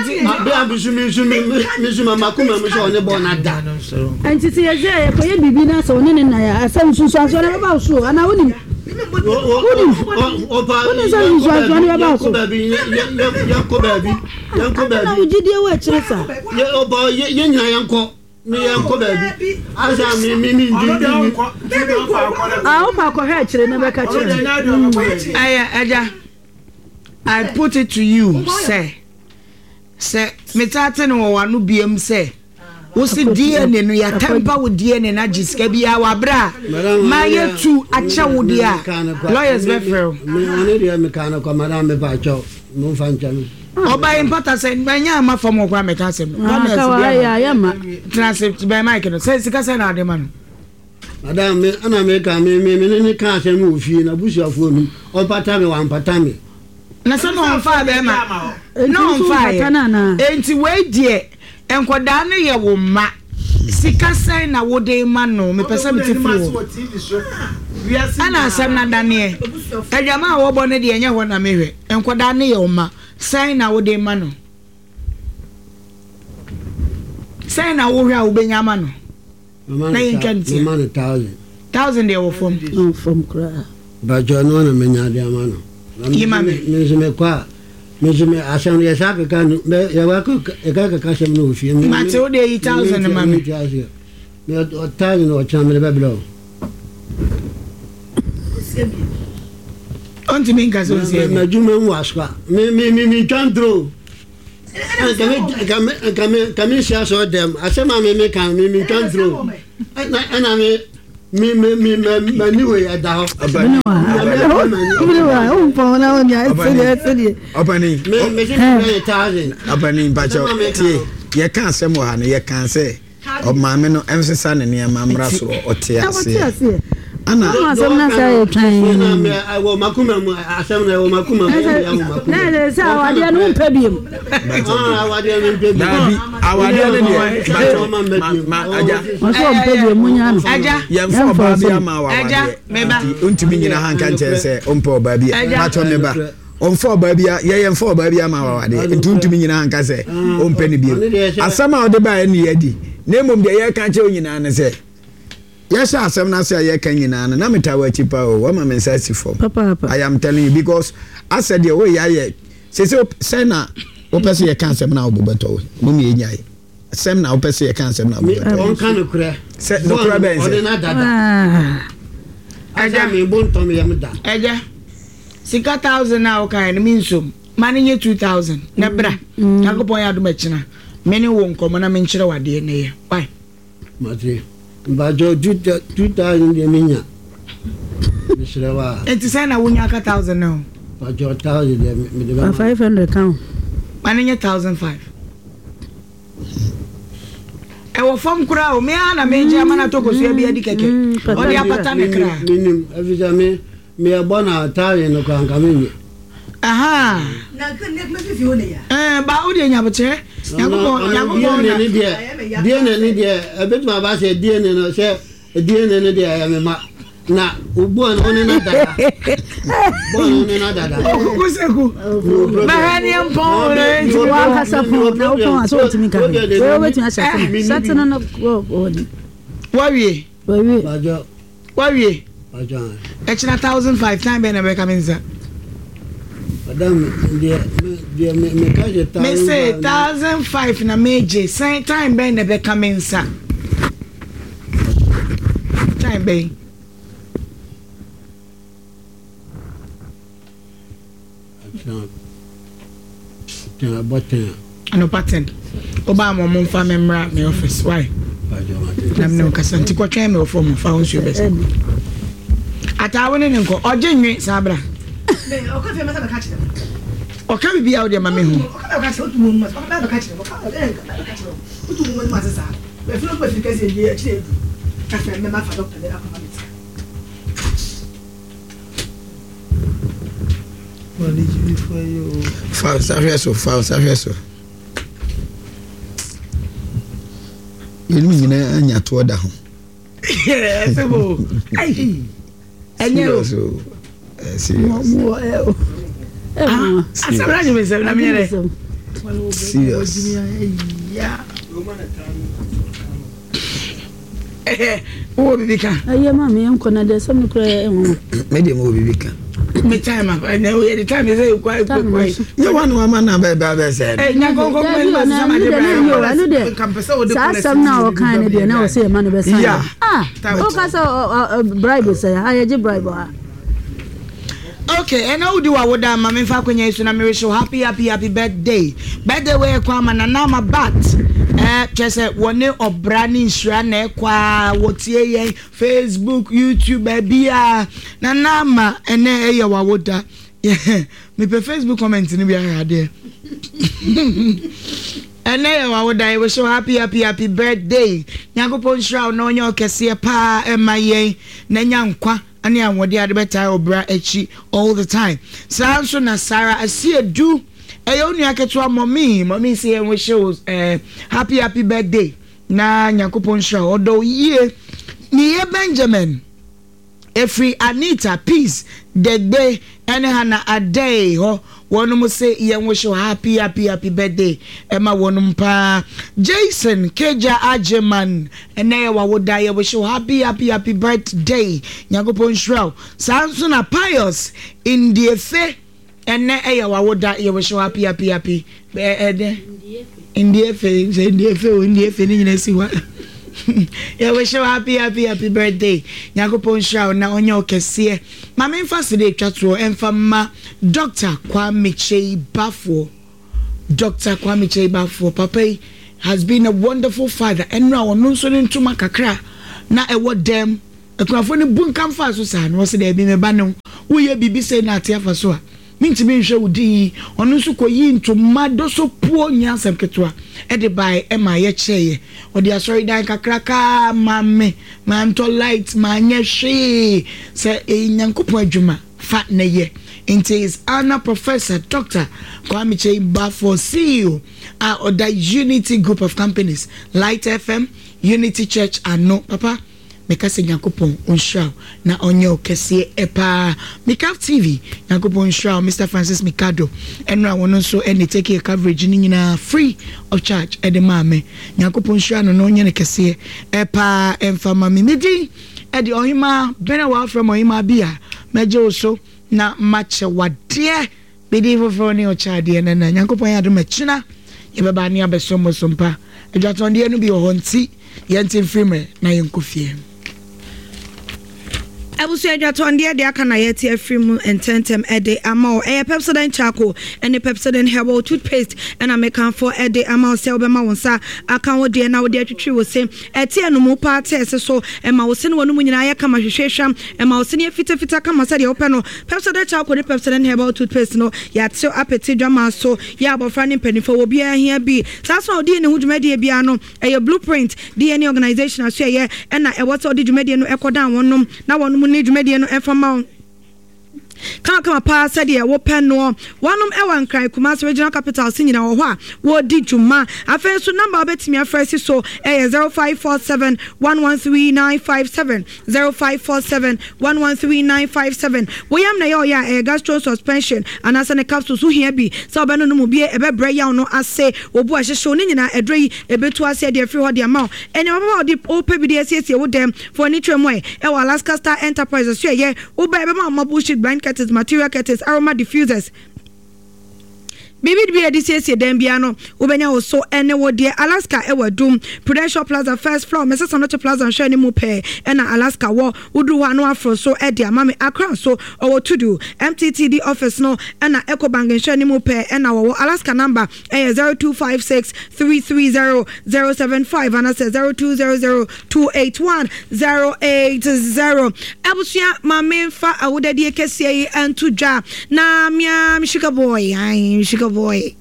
sɛ yɛsɛ yɛkɔyɛ biribi na sɛ ɔne ne nan a asɛm nsunsuansoɔ no bɛba wo so anaa wonim wonim wonim sɛ nsunsuansoɔ no bɛba wo so yɛnkɔ baabi yɛnkɔ baabi na wogyidie wɔ akyire saa yɛn nyinaa yɛnkɔ ne yɛnkɔ baabi asa mi mi mi ndi mi. A wopa akɔhwɛ akyire na bɛka kyerɛ ɛyɛ ɛgya I put it to you sɛ sɛ metaate no wɔ w'ano biam sɛ wosi D N A no yɛatampa wo D N A no agye sika biara w'abrɛ a ma yɛtu akyɛ wo deɛ a lawyers bɛfrɛ wo. Ɔne deɛ meka no kɔ madam mepa akyɛw momfa nkyɛ me. Ɔba yi mpata sɛ manya ama fam wɔ koraa mɛka asɛm no. Tena ase bɛn mic no sɛ sika sɛ na ade ma no. Madam me ana meka me me me ne ka asɛm wɔ fie na busuafoɔ no ɔmpata me wampata me. Na sɛ na ɔmfaa bɛrima na ɔmfaa yɛ enti wei deɛ nkɔdaa no yɛ wo mma sika sɛn na wode ma no mepɛ sɛ mete firi wɔ ɛna asɛm no adaneɛ adwama a wɔbɔ no deɛ ɛnyɛ hɔ na mehwɛ nkɔdaa no yɛ wo mma sɛn na wode ma no sɛn na wohwɛ a wobɛnya ama no na yɛntwa no tia mema no thousand. Thousand deɛ wɔ fam. Wɔ fam koraa. Bàjọ́ ní wọn na mi nya adi ama no. Yi ma mi. Mi nso mi kɔ a mi nso mi asɛm no yɛ saa keka no mɛ yɛ wa keka keka asɛm no wɔ fie. Mate o de yi thousand ma mi. Mi ɔ thousand ɔkyɛn mi de bɛ bila o. Ɔntumi nka sɛ ɔnsi ɛbi. Mɛ adwuma mu asoa mi mi mi mi ntwa ntoro. Nka mi nka mi nsi asɔ dɛm asɛm a mi mi kan mi mi ntwa ntoro ɛna ɛna mi mi mi mi mɛ mɛ ni wei ɛda hɔ. Ɔpani Mi mi si mi bɛ yɛ thousand. ɔpani mpakyɛw tie yɛka asɛm wɔ ha no yɛka sɛ ɔmaame no ɛnsesa ne nneɛma mmra soro ɔte aseɛ ana asɛm na sɛ yɛ twan Ɛwɔ makuma mu asɛm na ɛwɔ makuma mu ɛwɔ makuma mu. na ɛsɛ sɛ awadeɛ no wompɛ biom Awadeɛ no mpɛ bi. daabi awadeɛ no deɛ mpakyɛw ma ma agya ɔsɛ ɔmpɛ biom munya no Agya. yɛmfa ɔbaa bi ama Agya, awadeɛ meba. nti ntumi nyina ha nka nkyɛn sɛ ɔmpɛ ɔbaa bi Agya. mpakyɛw meba ɔmfa ɔbaa bi a yɛyɛ mfa ɔbaa bi ama awadeɛ nti ntumi nyina ha nka sɛ ɔmpɛ no bio asɛm a ɔde baeɛ ne yɛadi na mmom deɛ yɛka kyerɛ wo nyinaa ne sɛ yɛhyɛ asɛm no ase a yɛka nyinaa no na meta wɔ akyi pa o wama me nsa asi fam papaapa I am telling you because asɛ deɛ woyɛ ayɛ sese sɛ na wopɛ sɛ yɛka asɛm no a wobobɛtɔ wo mom yɛnyae sɛm na wopɛ sɛ yɛka asɛm no a wobobɛtɔ wo Ɔnka nokorɛ. Sɛ nokorɛ bɛn sɛ? Ɔde na dada. Agya mi bo ntɔm yam da. Ɛgya sika thousand a wokaeɛ no me nsom ma no nyɛ two thousand na bra Nyankopɔn yɛ adom akyina me ne wo nkɔmmɔ na menkyerɛ wo adeɛ na yɛ why Mate. Mpakyɛw two two thousand deɛ mi nya. Mesrɛ wa. Enti sɛ na wonya aka thousand no Mpakyɛw thousand deɛ mi de bɛ ma. five hundred ka ho ma no nyɛ thousand five ɛwɔ fam koraa o me ara na megye ama no atɔ kosua bi adi kɛkɛ ɔde apata ne kra Minim efisɛ mi mi ɛbɔ na thousand no kora nka mi nye. aha ɛɛ ba wo deɛ nyabokyerɛ Nyankopɔn Nyankopɔn DNA na ni deɛ DNA ni deɛ ebetumi aba sɛ DNA no sɛ DNA no deɛ ɛyɛ mi ma na o bɔɔl no ɔne na dada bɔɔl no ɔne na dada. Okuku seku bɛhɛ ne mpɔn na enti wankasa pɔn na wopɔn a sɛ wotumi ka hwee wei wobɛtumi ahyɛ ase sɛte no no wɔni wawie wawie Mpakyɛw wawie mpakyɛw ɛkyina thousand five time bɛn na bɛka me nsa madam deɛ me deɛ me me ka hyɛ me thousand se five na thousand five na megye sɛn time bɛn na bɛka me nsa time bɛn ɛkyina ten ɛbɔ ten anɔpa ten wobaa ma ɔmo mfa me mmra me office why mpakyɛw mate. na mene wo kasa nti kɔtwɛn me wɔ fam fa wo nsuo bɛsɛ ataa wo ne ne nkɔ ɔgye nwe saa bra ɔka biribi a wode ma me hu fa wo nsa hwɛ so fa wo nsa hwɛ so yɛnum nyinaa anya toɔ da ho ɛsɛ bo ai ɛnyɛ o serious o Eh, serious Ah, asɛm no agye me nsɛm na menyɛ dɛ serious wowɔ biribi ka ɛyɛ ma me yɛnkɔ na deɛ sɛm no koraa ɛyɛ nwanwa me deɛ mewɔ biribi ka me time a ɛnɛ woyɛ de time sɛ ɛkwa Time ɛkwa no so. nyɛ wa ne wama na bɛbɛ bɛsɛ no ɛ nyankɔnkɔ Dabi o, na ɛno deɛ na ɛnyɛ o, ɛno deɛ saa asɛm no a wɔkae no deɛ na wɔ sɛ yɛma no bɛsan Yeah. ah woka sɛ ɔ- ɔ- ɔ- bribe sɛ ha yɛgye bribe wɔ ha okay ɛna wodi wa woda ma memfa akwanya yi so na merehyɛ wo happy happy happy birthday birthday wei ɛkɔ ama nana ama bat ɛɛ kyerɛ sɛ wɔne ɔbra ne nhyira na ɛkɔ a wɔtie yɛn facebook youtube baabi a nana ama ɛnɛ ɛyɛ wawoda mepɛ facebook comment no bi ahwɛ adeɛ ɛnɛ yɛ wawoda yɛwɔ so happy happy happy birthday nyankopɔn nhyira wo na ɔnyɛ ɔkɛseɛ paa ɛma yɛn na nya nkwa ne ahoɔden ade bɛtae ɔbra akyi all the time saa nso na sara asiedu ɛyɛ wo nua ketewa mɔmi mɔmi sɛ yɛn wɔhyɛ wo ɛɛ happy happy birthday na nyankopɔn nhyira wo ɔdɔ wo yie ne yɛ benjamin Ɛfiri Anita, Peace, Degbe ɛne Hannah Adei hɔ. Wɔnom se yɛn wish wo happy happy happy birthday ɛma wɔnom paa. Jason Kegya Agyeman ɛnɛ yɛ w'awoda yɛ wish wo happy happy happy birthday Nyankopɔn nhyira wo. Saa nso na Pius Ndiefe ɛnɛ ɛyɛ w'awoda yɛ wish wo happy happy happy ɛdɛ Ndiefe sɛ Ndiefe o Ndiefe ne nyina si hɔ yɛ wish wo happy happy happy birthday Nyankopɔn nhyira wo na ɔnyɛ wo kɛseɛ. Ma memfa sede etwa toɔ ɛmfa mma Doctor Kwame Kyei Baffour Doctor Kwame Kyei Baffour papa yi has been a wonderful father ɛnora ɔno nso ne ntoma kakra na ɛwɔ dɛm akunafoɔ no bunkam faa so saa na ɔse daabi me ba ne wo woyɛ biribi sei na ate afa so a mentumi nhwɛ wo din yi ɔno nso kɔyii ntoma dosopuo nyɛ asɛm ketewa ɛde bae ɛma yɛkyɛeɛ ɔde asɔredan kakraka maa me mantɔ light manyɛ hwee sɛ ɛyɛ Nyankopɔn adwuma fa na yɛ nti His Honour Professor Doctor Kwame Kyei Baffour C E O a ɔda Unity Group of Companies, Light F M, Unity Church ano papa meka sɛ Nyankopɔn ɔnhyira wo na ɔnyɛ wo kɛseɛ paa Mikaf T V Nyankopɔn nhyira wo Mister Francis Mikado ɛnora wɔn nso ɛne take your coverage no nyinaa free of charge ɛde maa me Nyankopɔn nhyira no na ɔnyɛ no kɛseɛ paa ɛmfa ma me me din ɛde ɔhemaa bɛn a wɔafrɛ me ɔhemaa bi a mɛgye wo so na makyɛ wadeɛ me din foforɔ ne ɔkyɛ adeɛ nana Nyankopɔn yɛ adom ɛkyena yɛbɛba ne abɛso mo so mpa adwatɔndeɛ no bi wɔ hɔ nti yɛnte mfiri mmerɛ na yɛnkɔ fie. Abusua adwatɔndeɛ deɛ aka na yɛte afiri mu ntɛntɛm de ama wo. Ɛyɛ Pepsodent Charcoal ne Pepsodent Herbal Toothpaste na mekamfo de ama wo sɛ wobɛma wo nsa aka wo deɛ na wode atwitwi wo se. Ɛte anomu paa te ɛse so, ɛma wo se ne w'anomu nyinaa yɛ kama hwehwɛ hwam, ɛma wo se no yɛ fitafita kama sɛdeɛ wopɛ no. Pepsodent Charcoal ne Pepsodent Herbal Toothpaste no, yɛatew apete dwamaa so, yɛ abɔfra ne mpanimfoɔ, obiara hia bi. Saa nso na wode ne ho dwumadie biara no, ɛyɛ Blueprint D N A Organization asoɛeɛ na ɛwɔ sɛ ɔde dwumadie no kɔdan wɔnom na wɔnom ne dwumadie no mfa ma wo kamakama paa sɛdeɛ wopɛ noɔ. Wɔnom wɔ Nkran, Kumasi, Regional Capital se nyinaa wɔ hɔ a wɔredi dwuma. Afei nso number a wobɛtumi afrɛ asi so yɛ zero five four seven one one three nine five seven, zero five four seven one one three nine five seven. Wo yam na ɛyɛ ɔyɛ a ɛyɛ gastro suspension anaasɛ ne capsules wohia bi sɛ wobɛnonom mu bie ɛbɛbrɛ yaw no ase, wo bo a ɛhyehye wo ne nyinaa aduro yi ɛbɛtu aseɛ de afiri hɔ de ama wo. Nneɛma papa a wode wopɛ bi de asiesie wo dɛm fa w'ani kyerɛ mu ɛ ɛwɔ Alaska Star Enterprise so ɛyɛ wo ba ɛbɛma wo marble sheet, blind curtains, material curtains, aroma diffusers, biribi bi a yɛde siesie dan biara no wobɛnya wo so ɛne wo deɛ. Alaska ɛwɔ Adum Prudential Plaza first floor Mrs Anoche Plaza nhwɛ ne mu pɛɛ ɛna Alaska wɔ. Woduru hɔ a na waforo so ɛde ama me. Accra nso ɔwɔ Tudu M T T D office no ɛna Ecobank nhwɛ ne mu pɛɛ ɛna wɔwɔ. Alaska number ɛyɛ zero two five six three three zero zero seven five anasɛ zero two zero zero two eight one zero eight zero. Abusua ma memfa awodadie kɛseɛ yi nto dwa na mea me sugar boy, ae sugar boy,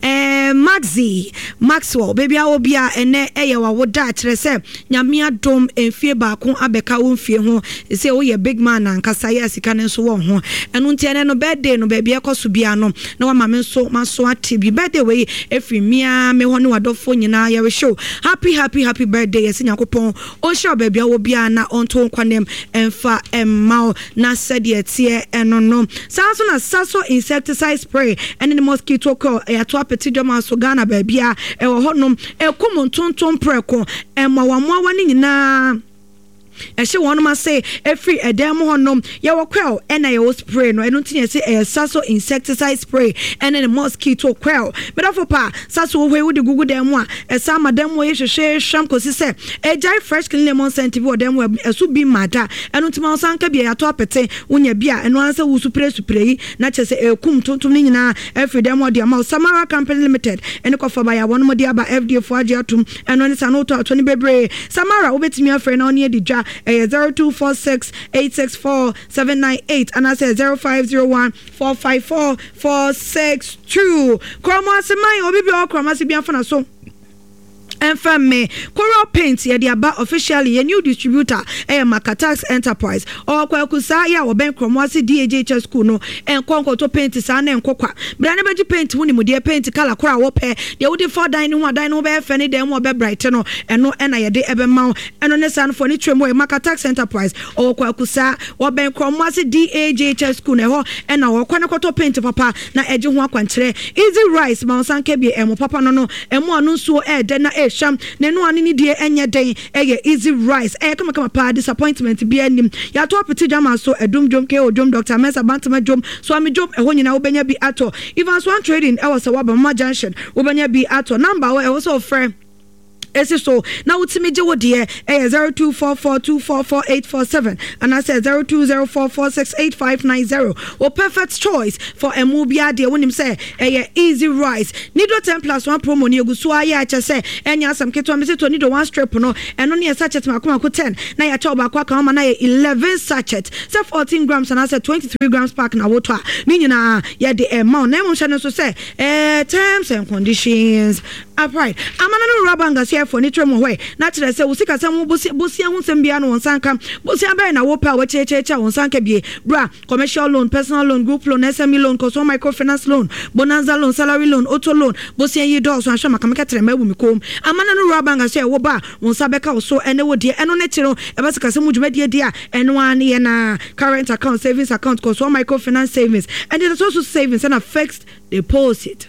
eh, Maxi Maxwell, baabi a wɔ bia ɛnɛ ɛyɛ wawoda kyerɛ sɛ Nyame adom mfie baako abɛka wo mfie ho sɛ woyɛ big man ankasa yɛ sika no nso wɔ ho ɛno nti ɛnɛ no birthday no baabi ɛkɔ so bia no na wama me nso maso ate bi birthday wei ɛfiri mea me hɔ ne wadɔfoɔ nyinaa yɛrehyɛ wo happy happy happy birthday yɛsɛ Nyankopɔn ɔnhyira wo baabi a wɔ bia na ɔnto wo nkwanem ɛmfa ɛmma wo na sɛdeɛ ɛteɛ ɛno no saa nso na Saso insecticide spray ɛne ne mosquito coil yɛato apete dwama so Ghana baabi a ɛwɔ hɔnom ɛkum ntontom prɛko ɛmmoawammoawa no nyinaa ɛhyɛ wɔn ase ɛfiri ɛdan mu hɔnom yɛwɔ coil ɛna yɛwɔ spray no ɛno nti na yɛsɛ ɛyɛ Saso insecticide spray ɛne ne mosquito coil medafo pa Saso wɔ hɔ yi wode gugu dan mu a ɛsan ma dan mu yɛ hwehwɛ hwam kɔsi sɛ ɛgyae fresh clean lemon scent bi wɔ dan mu ɛso bi ma da ɛno nti ma wo sanka bi a yɛato apete wonya bi a ɛno ara sɛ wo supre supre yi na kyerɛ sɛ ɛkum tontom no nyinaa ɛfiri dan mu ɔde ama wo Samara Company Limited ɛne kɔfa ba yɛ a wɔnom de aba F D A fo agye atom ɛno ne sa no wotɔ ato no bebree Samara wobɛtumi afrɛ na ɔne adi dwa ɛyɛ zero two four six eight six four seven nine eight anaasɛ zero five zero one four five four four six two Kurɔmo ase man obi bi a ɔwɔ kurɔmo ase bi afa na so Ɛmfa mme. Coral Paint yɛde aba officially, yɛn new distributor ɛyɛ Makatax Enterprise. Ɔwɔ Kwaku saa yɛ a wɔbɛn Krɔmoase D A J H S School no. Ɛnkɔ nkɔtɔ paint saa na ɛnkɔ kwa. Bra na bɛgye paint ho nimdeɛ, paint colour koro a wopɛ, deɛ wode fa dan no ho a dan no ho bɛyɛ fɛ ne dan mu a ɔbɛ bright no, ɛno ɛna yɛde ɛbɛma wo. Ɛno ne saa no fo ne kyerɛ mu ɛyɛ Makatax Enterprise. Ɔwɔ Kwaku saa wɔbɛn Krɔmoase D A J H S School no, ɛhɔ ɛna wɔkɔ ne kɔtɔ paint papa na ɛgye ho akwankyerɛ. Easy Rice ma wo nsa nka bi, ɛmo papa no no, ɛmo ano nsuo ɛɛdɛ na ɛɛhwam na ɛno ano ne die ɛnyɛ den. Ɛyɛ Easy Rice, ɛyɛ kamakama paa, disappointment bi anim. Yɛato apete dwama so, Ɛdum dwom, ko dwom, Doctor Mensa Bantama dwom, Suame dwom, ɛhɔ nyinaa wobɛnya bi atɔ. Evans One Trading ɛwɔ sɛ waba Mama Junction, wobɛnya bi atɔ. Number wɔ ɛwɔ sɛ ɔfrɛ esi so na wotumi gye wo deɛ ɛyɛ zero two four four two four four eight four seven anaasɛ zero two zero four four six eight five nine zero. O perfect choice for ɛmu biara deɛ, wonim sɛ ɛyɛ Easy Rice. Nido ten plus one promo ni egu so ayɛ akyɛ sɛ ɛnyɛ asɛm ketewa. Mesi to Nido one strip no, ɛno ne yɛ sachet mako mako ten na yɛakyɛ ɔbaako aka ama na yɛ eleven sachet, sɛ fourteen grams anaasɛ twenty three grams pack na wotɔ a, ne nyinaa yɛde ɛma wo. Na emu hyɛ no nso sɛ ɛɛ terms and conditions apply. Amana no wura bank aseɛfoɔ ne twerɛ mu hɔ na kyerɛ sɛ wo sikasɛm ho bosia ho nsɛm biara no wɔn nsa nka. Bosia bɛyɛ na wopɛ a wɔkyerɛkyerɛkyerɛ a wɔn nsa nka bie bra: commercial loan, personal loan, group loan, S M E loan, consumer microfinance loan, bonanza loan, salary loan, auto loan. Bosia yi dɔɔso ahwɛ makamaka tẹrɛ mɛ abu mi kom. Amana no wura bank aseɛ wo ba wɔn nsa bɛka wo so ɛne wo deɛ. Ɛno ne kyerɛ no ɛbɛ sikasɛm mu dwumadie deɛ a ɛno ara ne yɛ na current account, savings account, consumer microfinance savings, ɛne the social savings ɛna fixed deposit.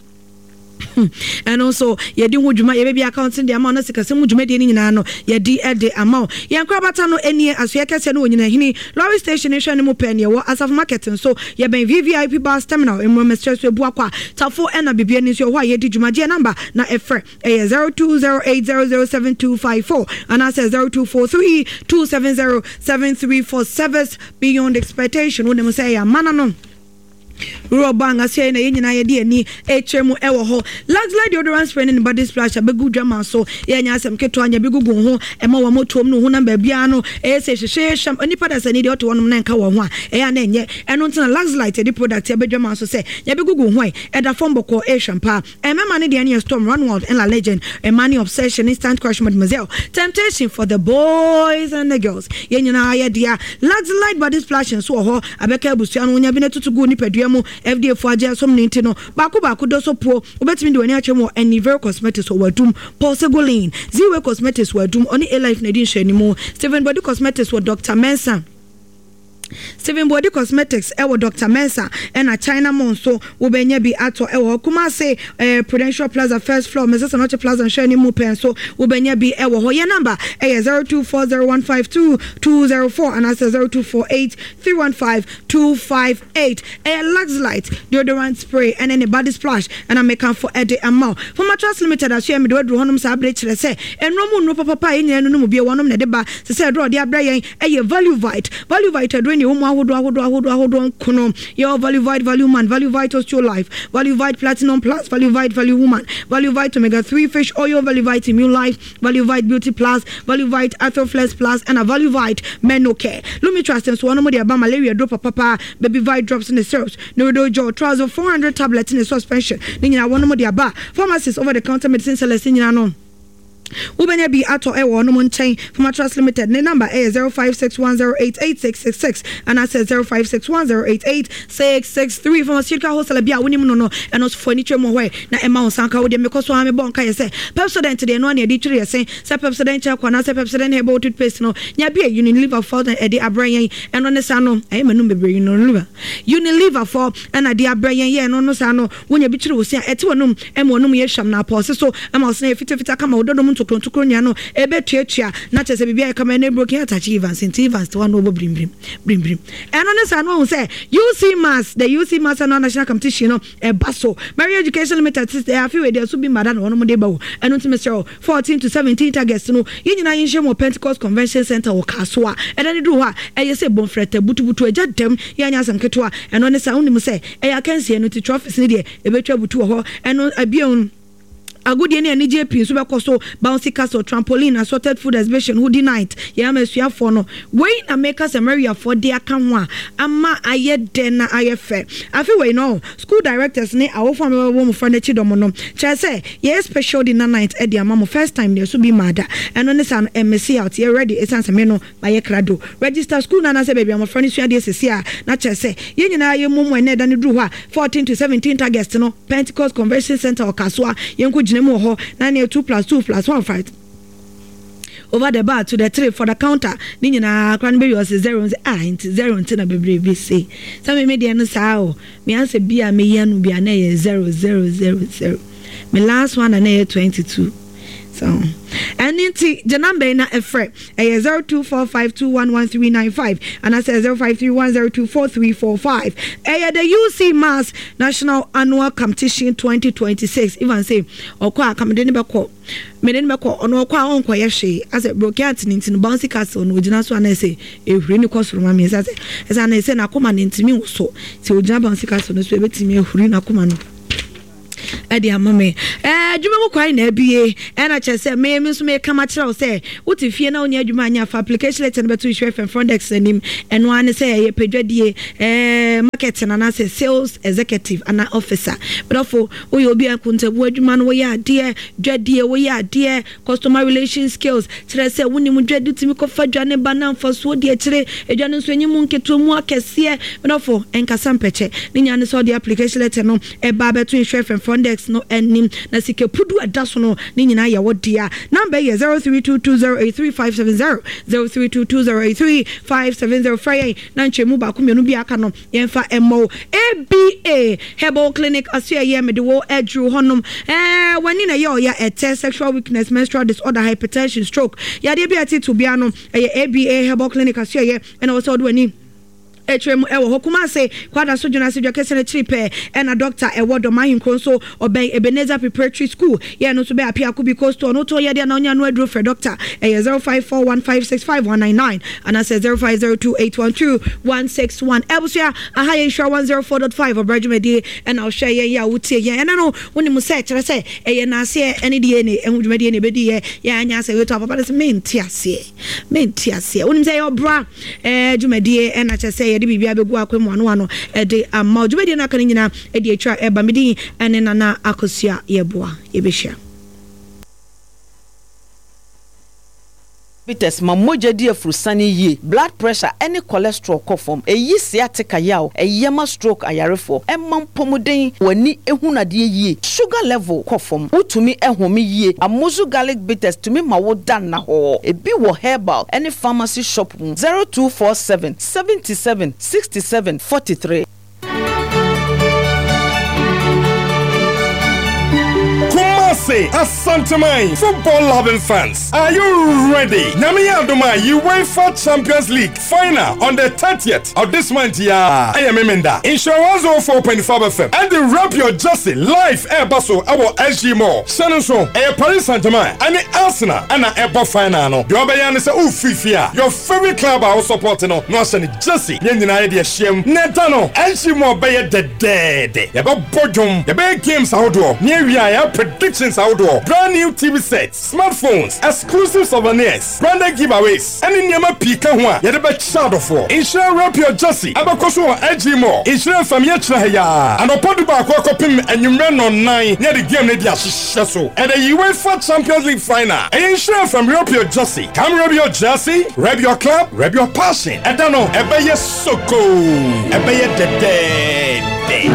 Ɛno nso yɛde ho dwuma, yɛbɛbi accounting de ama wo na sikasɛm mu dwumadie no nyinaa no yɛde de ama wo. Yɛn korabata no nie, asoɛ kɛseɛ no wɔ Nyinahini lorry station hwɛ no mu pɛ neɛ wɔ Asafo Market nso yɛbɛn V V I P bus terminal mmorɔmɛsrɛ so ebu akɔ a Tafo ɛna bibia ni nso ɛhɔ a yɛdi dwumadie. Number na ɛfrɛ ɛyɛ zero two zero eight zero zero seven two five four anaasɛ zero two four three two seven zero seven three four. Service beyond expectation. Wonim sɛ ɛyɛ amana no rɔba angaseɛ na yɛn nyinaa yɛde ani ɛkyerɛ mu ɛwɔ hɔ. Luxlite deodorant spray ne ne body splash abɛgu dwama so. Yɛnyɛ asɛm ketewa nya bi gugu ho ɛma wɔn motoom no honam baabiara no ɛyɛ sɛ hyehyɛ nipa da sani deɛ ɔte hɔnom na nka wɔn ho a ɛyɛ a na ɛnyɛ ɛno ntina. Luxlite yɛde product abɛdwama so sɛ nya bi gugu ho ɛ ɛda fam bɔkɔɔ, ɛhwɛ mpa. Ɛmɛma ne deɛ no yɛ Storm, Runwild ɛna Legend. Ɛma ne Obsession, Instant Crush, Mademoiselle, Temptation for the boys and the girls. Yɛn nyinaa yɛ dea. Luxlite body splash nso wɔ hɔ abɛka abusua no wonya bi na tutu gu nipadua mu. F D A fo agye asom ne nti no baako baako dɔ so puo. Wobɛtumi de w'ani akyerɛ mu wɔ Anivero Cosmetics wɔ Wadum, Paul Segolin, Ziwe Cosmetics wɔ Adum, ɔne Alife na ɛdi nhwɛanimu. Stephen Body Cosmetics wɔ Doctor Mensa, Stephen Body Cosmetics ɛwɔ Doctor Mensa, ɛna China Mall nso wobɛnya bi atɔ ɛwɔ hɔ. Kumase ɛɛ Prudential Plaza first floor, Mrs Anoche Plaza nhwɛ ne mu pɛn so wobɛnya bi ɛwɔ hɔ. Yɛ number ɛyɛ zero two four zero one five two two zero four anaasɛ zero two four eight three one five two five eight. Ɛyɛ Luxlite deodorant spray ɛne ne body splash ɛna mekanfo ɛde ama wo. Pharmatrust Limited aso yɛ mede waduru hɔnom saa abere kyerɛ sɛ ɛnuro mu nnuro papapa a yɛn nyinaa no no mu bie wɔnom na ɛde ba sɛ sɛ ɛduro a ɔde abrɛ yɛn ɛyɛ Value Vite. Value Vite aduro ne ɛwɔ mu ahodoɔ ahodoɔ ahodoɔ ahodoɔ nkono. Yɛwɔ Value Vite Value Man, Value Vite Osteo Life, Value Vite Platinum Plus, Value Vite Value Woman, Value Vite Omega three Fish Oil, Value Vite Immune Life, Value Vite Beauty Plus, Value Vite Arthroflex Plus ɛna Value Vite Menocare. Lumitrust nso wɔn de aba malaria duro papapa, Baby Vite drops ne syrups, Neurodo Gel, Trazo four hundred tablet ne suspension ne nyinaa wɔn de aba. Pharmacies, over the counter medicine sellers ne nyinaa no wobɛnya bi atɔ ɛwɔ ɔnom nkyɛn. Pharmatrust Limited ne number ɛyɛ zero five six one zero eight eight six six six anaasɛ zero five six one zero eight eight six six three. Pharmaceutical wholesaler bi a wonim no no ɛno nso fo ani twɛ mu hɔ ɛ na ɛma wo nsanka wo deɛ. Mekɔ so a mebɔ nka yɛ sɛ Pepsodent deɛ ɛno a ne yɛde twere yɛ se sɛ Pepsodent charcoal anaasɛ Pepsodent herbal toothpaste no nya bi a Unilever fo na ɛde abrɛ yɛn. Ɛno ne saa no ɛyɛ manum bebree. Unilever Unilever fo ɛna de abrɛ yɛn yɛ. Ɛno no saa no wonya bi kyerɛ wo se a ɛte w'anum ɛma w'anum yɛ hwam na apɔɔse so ɛma wo sena yɛ fitafita kama wo dɔdɔm ntokuro ntokuro nua no ɛbɛtuatua na kyerɛ sɛ biribi ayɛ kama. Ɛne broken heart akyi Evans nti Evans te hɔ na ɔbɔ birimbirim birimbirim. Ɛno ne saa no wahu sɛ U C Mass, the U C Mass annual national competition no ɛba so. Mary Education Limited sɛ afe wei deɛ so bi mmada na wɔnom de ba wo. Ɛno nti mesrɛ wo, fourteen to seventeen August no yɛn nyinaa yɛnhyɛ mu wɔ Pentecost Convention Center wɔ Kasoa. Ɛda ne duru hɔ a ɛyɛ sɛ bɔmfrɛtɛ butubutu agya dɛm yɛanyɛ asɛm ketewa. Ɛno ne saa wonim sɛ ɛyɛ akansie no nti trophies no deɛ ɛbɛtwa butu wɔ hɔ. Ɛno abien Agodie ne anigyeɛ pii nso bɛkɔ so, bouncy castle, trampoline, assorted food exhibition, hoodie night, yɛn ama asuafoɔ no. Wei na meka sɛ Mariafoɔ de aka ho a ama ayɛ dɛ na ayɛ fɛ. Afe wei no, school directors ne awofoɔ a mobɛbɔ mmɔfra no akyi dɔm no, kyerɛ sɛ yɛyɛ special dinner night de ama mo, first time deɛ so bi mmaa da. Ɛno ne saa no, ɛmmese out, yɛ ready ɛsiane sɛ me no mayɛ krado. Register school no anaasɛ baabi a mmɔfra no sua adeɛ seesei a, na kyerɛ sɛ yɛn nyinaa yɛmmɔ mu ɛnnɛ ɛda no duru hɔ a, fourteen to seventeen August no, Pentecost Convention Centre wɔ Kasoa, yɛnkɔ gyina mu wɔ hɔ na neɛ two plus two plus one five over the bar to the three for the counter ne nyinaa koraa no bɛwie ɔse zero nse ah nti zero nti na bebree bi se sɛ me me deɛ no saa o me answer bi a meyi ano bi a na ɛyɛ zero zero zero zero me last one na na ɛyɛ twenty two so ɛne nti gye number yi na ɛfrɛ ɛyɛ zero two four five two one one three nine five anaasɛ zero five three one zero two four three four five ɛyɛ the U C Mass National Annual Competition twenty twenty-six. Ivan say ɔkɔ a kamede ne bɛkɔ, mede ne bɛkɔ. Ɔno ɔkɔ a ɔnkɔyɛ hwee asɛ broken heart ne nti no bouncy castle no ogyina so anaasɛ ehuri ne kɔ soro ma mi ɛsɛ sɛ ɛsɛ anaasɛ n'akoma ne ntumi wɔ so sɛ ogyina bouncy castle no so ebetumi ehuri n'akoma no ɛde ama me. Ɛɛ adwuma mu kwan na abie ɛna kyerɛ sɛ me me nso meka ma kyerɛ wo sɛ wote fie na wonyɛ adwuma anyɛ afa application letter no bɛto Nhyira F M front desk anim. Ɛno ara ne sɛ ɛyɛ pɛdwadie, ɛɛ marketing anaasɛ sales executive anaa officer. Brɔfo, woyɛ obi a nkontabu adwuma no woyɛ adeɛ, dwadie woyɛ adeɛ, customer relation skills kyerɛ sɛ wonim dwadi, tumi kɔfa dwa ne ba na mfasoɔ di akyire, adwa no nso enyi mu nketewa mu akɛseɛ. Brɔfo, ɛnkasa mpɛkyɛ ne nya ne sɛ ɔde application letter no ɛba abɛto Nhyira F M front desk no anim na sika pudu ɛda so no ne nyinaa yɛ wɔ dea. Number yɛ zero three two two zero eight three five seven zero, zero three two two zero eight three five seven zero. Frɛ yɛn na nkyɛnmu baako mmienu bi aka no yɛmfa ɛmmɔ wo. A B A Herbal Clinic aso ɛyɛ mede wo aduru hɔnom. ɛɛ w'ani na ɛyɛ ɔya, ɛtɛ, sexual weakness, menstrual disorder, hypertension, stroke, yadeɛ bi a ɛtete bia no, ɛyɛ A B A Herbal Clinic aso ɛyɛ ɛna wɔ sɛ ɔde w'ani atwa mu ɛwɔ hɔ. Kumase Kwada so dwena ase dwa kɛse no akyiri pɛɛ ɛna doctor ɛwɔ. Dɔm ahenkuro nso ɔbɛn Ebenezer Preparatory School yɛn no nso bɛ Apiako bi coastal no tɔn yɛdeɛ na ɔnya no aduro. Frɛ doctor, ɛyɛ zero five four one five six five one nine nine anaasɛ zero five zero two eight one two one six one. Ɛbusua aha yɛ Nhyira one zero four point five ɔbrɛ dwumadie ɛna ɔhwɛ yɛn yɛ a wotie yɛn ɛna no wonim sɛ kyerɛ sɛ ɛyɛ naaseɛ ɛne deɛ ne ɛho dwumadie ne ɛbɛdi yɛ yɛ anya sɛ wetu apapa no sɛ mente aseɛ, mente aseɛ. Wonim sɛ ɛyɛ ɔbra ɛɛ dwumadie ɛna kyerɛ sɛ yɛde biribi abɛgu akwan mu ano ano ɛde ama dwumadie no aka no nyinaa ɛde atwa ɛba. Medin ɛne Nana Akosua Yɛboa yɛbɛhyia. Bitters ma mogya di afurusane yie, blood pressure ɛne cholesterol kɔ fam, ɛyi sciatica yaw, ɛyɛ ma stroke ayarefoɔ, ɛma mpɔmuden, w'ani ehunu adeɛ yie, sugar level kɔ fam, wotumi ɛhome yie. Amuzu Garlic Bitters tumi ma wo da nna hɔ. Ebi wɔ herbal ɛne pharmacy shop mu. zero two four seven seventy seven sixty seven forty three. Kumasi, Asanteman, football loving fans, are you ready? Nyame Adoma, UEFA Champions League final on the thirtieth of this month. Yeah, I am Memenda. Nhyira one oh four point five F M and the Wrap Your Jersey live ɛba so ɛwɔ S G Mall. Hyɛ no nso, ɛyɛ Paris Saint-Germain ɛne Arsenal ɛna ɛbɔ final no. Deɛ ɔbɛyɛ ne sɛ wofiri fie a, your favorite club a wo support no na ɔhyɛ ne jersey. Yɛn nyinaa yɛde ahyia mu. Na ɛda no, S G Mall bɛyɛ dɛdɛɛdɛ. Yɛbɛbɔ dwom, yɛbɛyɛ games ahodoɔ, ne awie a yɛyɛ predictions ahodoɔ, brand new T V sets, smartphones, exclusive souvenirs, branded giveaways, ɛne nneɛma pii ka ho a yɛde bɛkyɛ adɔfoɔ. Nhyira Wrap Your Jersey ɛbɛkɔ so wɔ S G Mall. Nhyira F M yɛkyerɛ ha yaa anɔpa du baako akɔpem anwummerɛ nnɔnnan ne yɛde game no de ahyehyɛ so. Ɛdɛ UEFA Champions League final, ɛyɛ Nhyira F M Wrap Your Jersey. Come wrap your jersey, wrap your club, wrap your passion. Ɛda no ɛbɛyɛ soko, ɛbɛyɛ dɛdɛɛdɛ.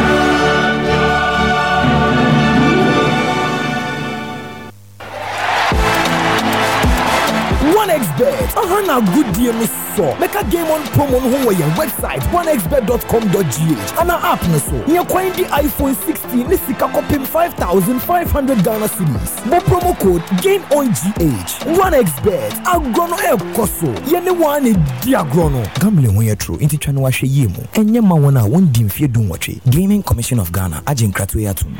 one x Bet aha na agodie no sɔ mɛka Game On promo no ho wɔ yɛn website one x bet dot com dot G H ana app no so. Nyɛ kwan di iPhone sixteen ne sika kɔpem five thousand five hundred Ghana cedis. Bɔ promo code GAME ON G H. one x Bet, agorɔ no ɛrekɔ so, yɛne wɔn a na di agorɔ no. Gambling ho yɛ toro nti twa no wahwɛ yie mu. Ɛnyɛ ma wɔn a wɔndi mfeɛ dunwɔtwe. Gaming Commission of Ghana agye nkratoɔ yi atom.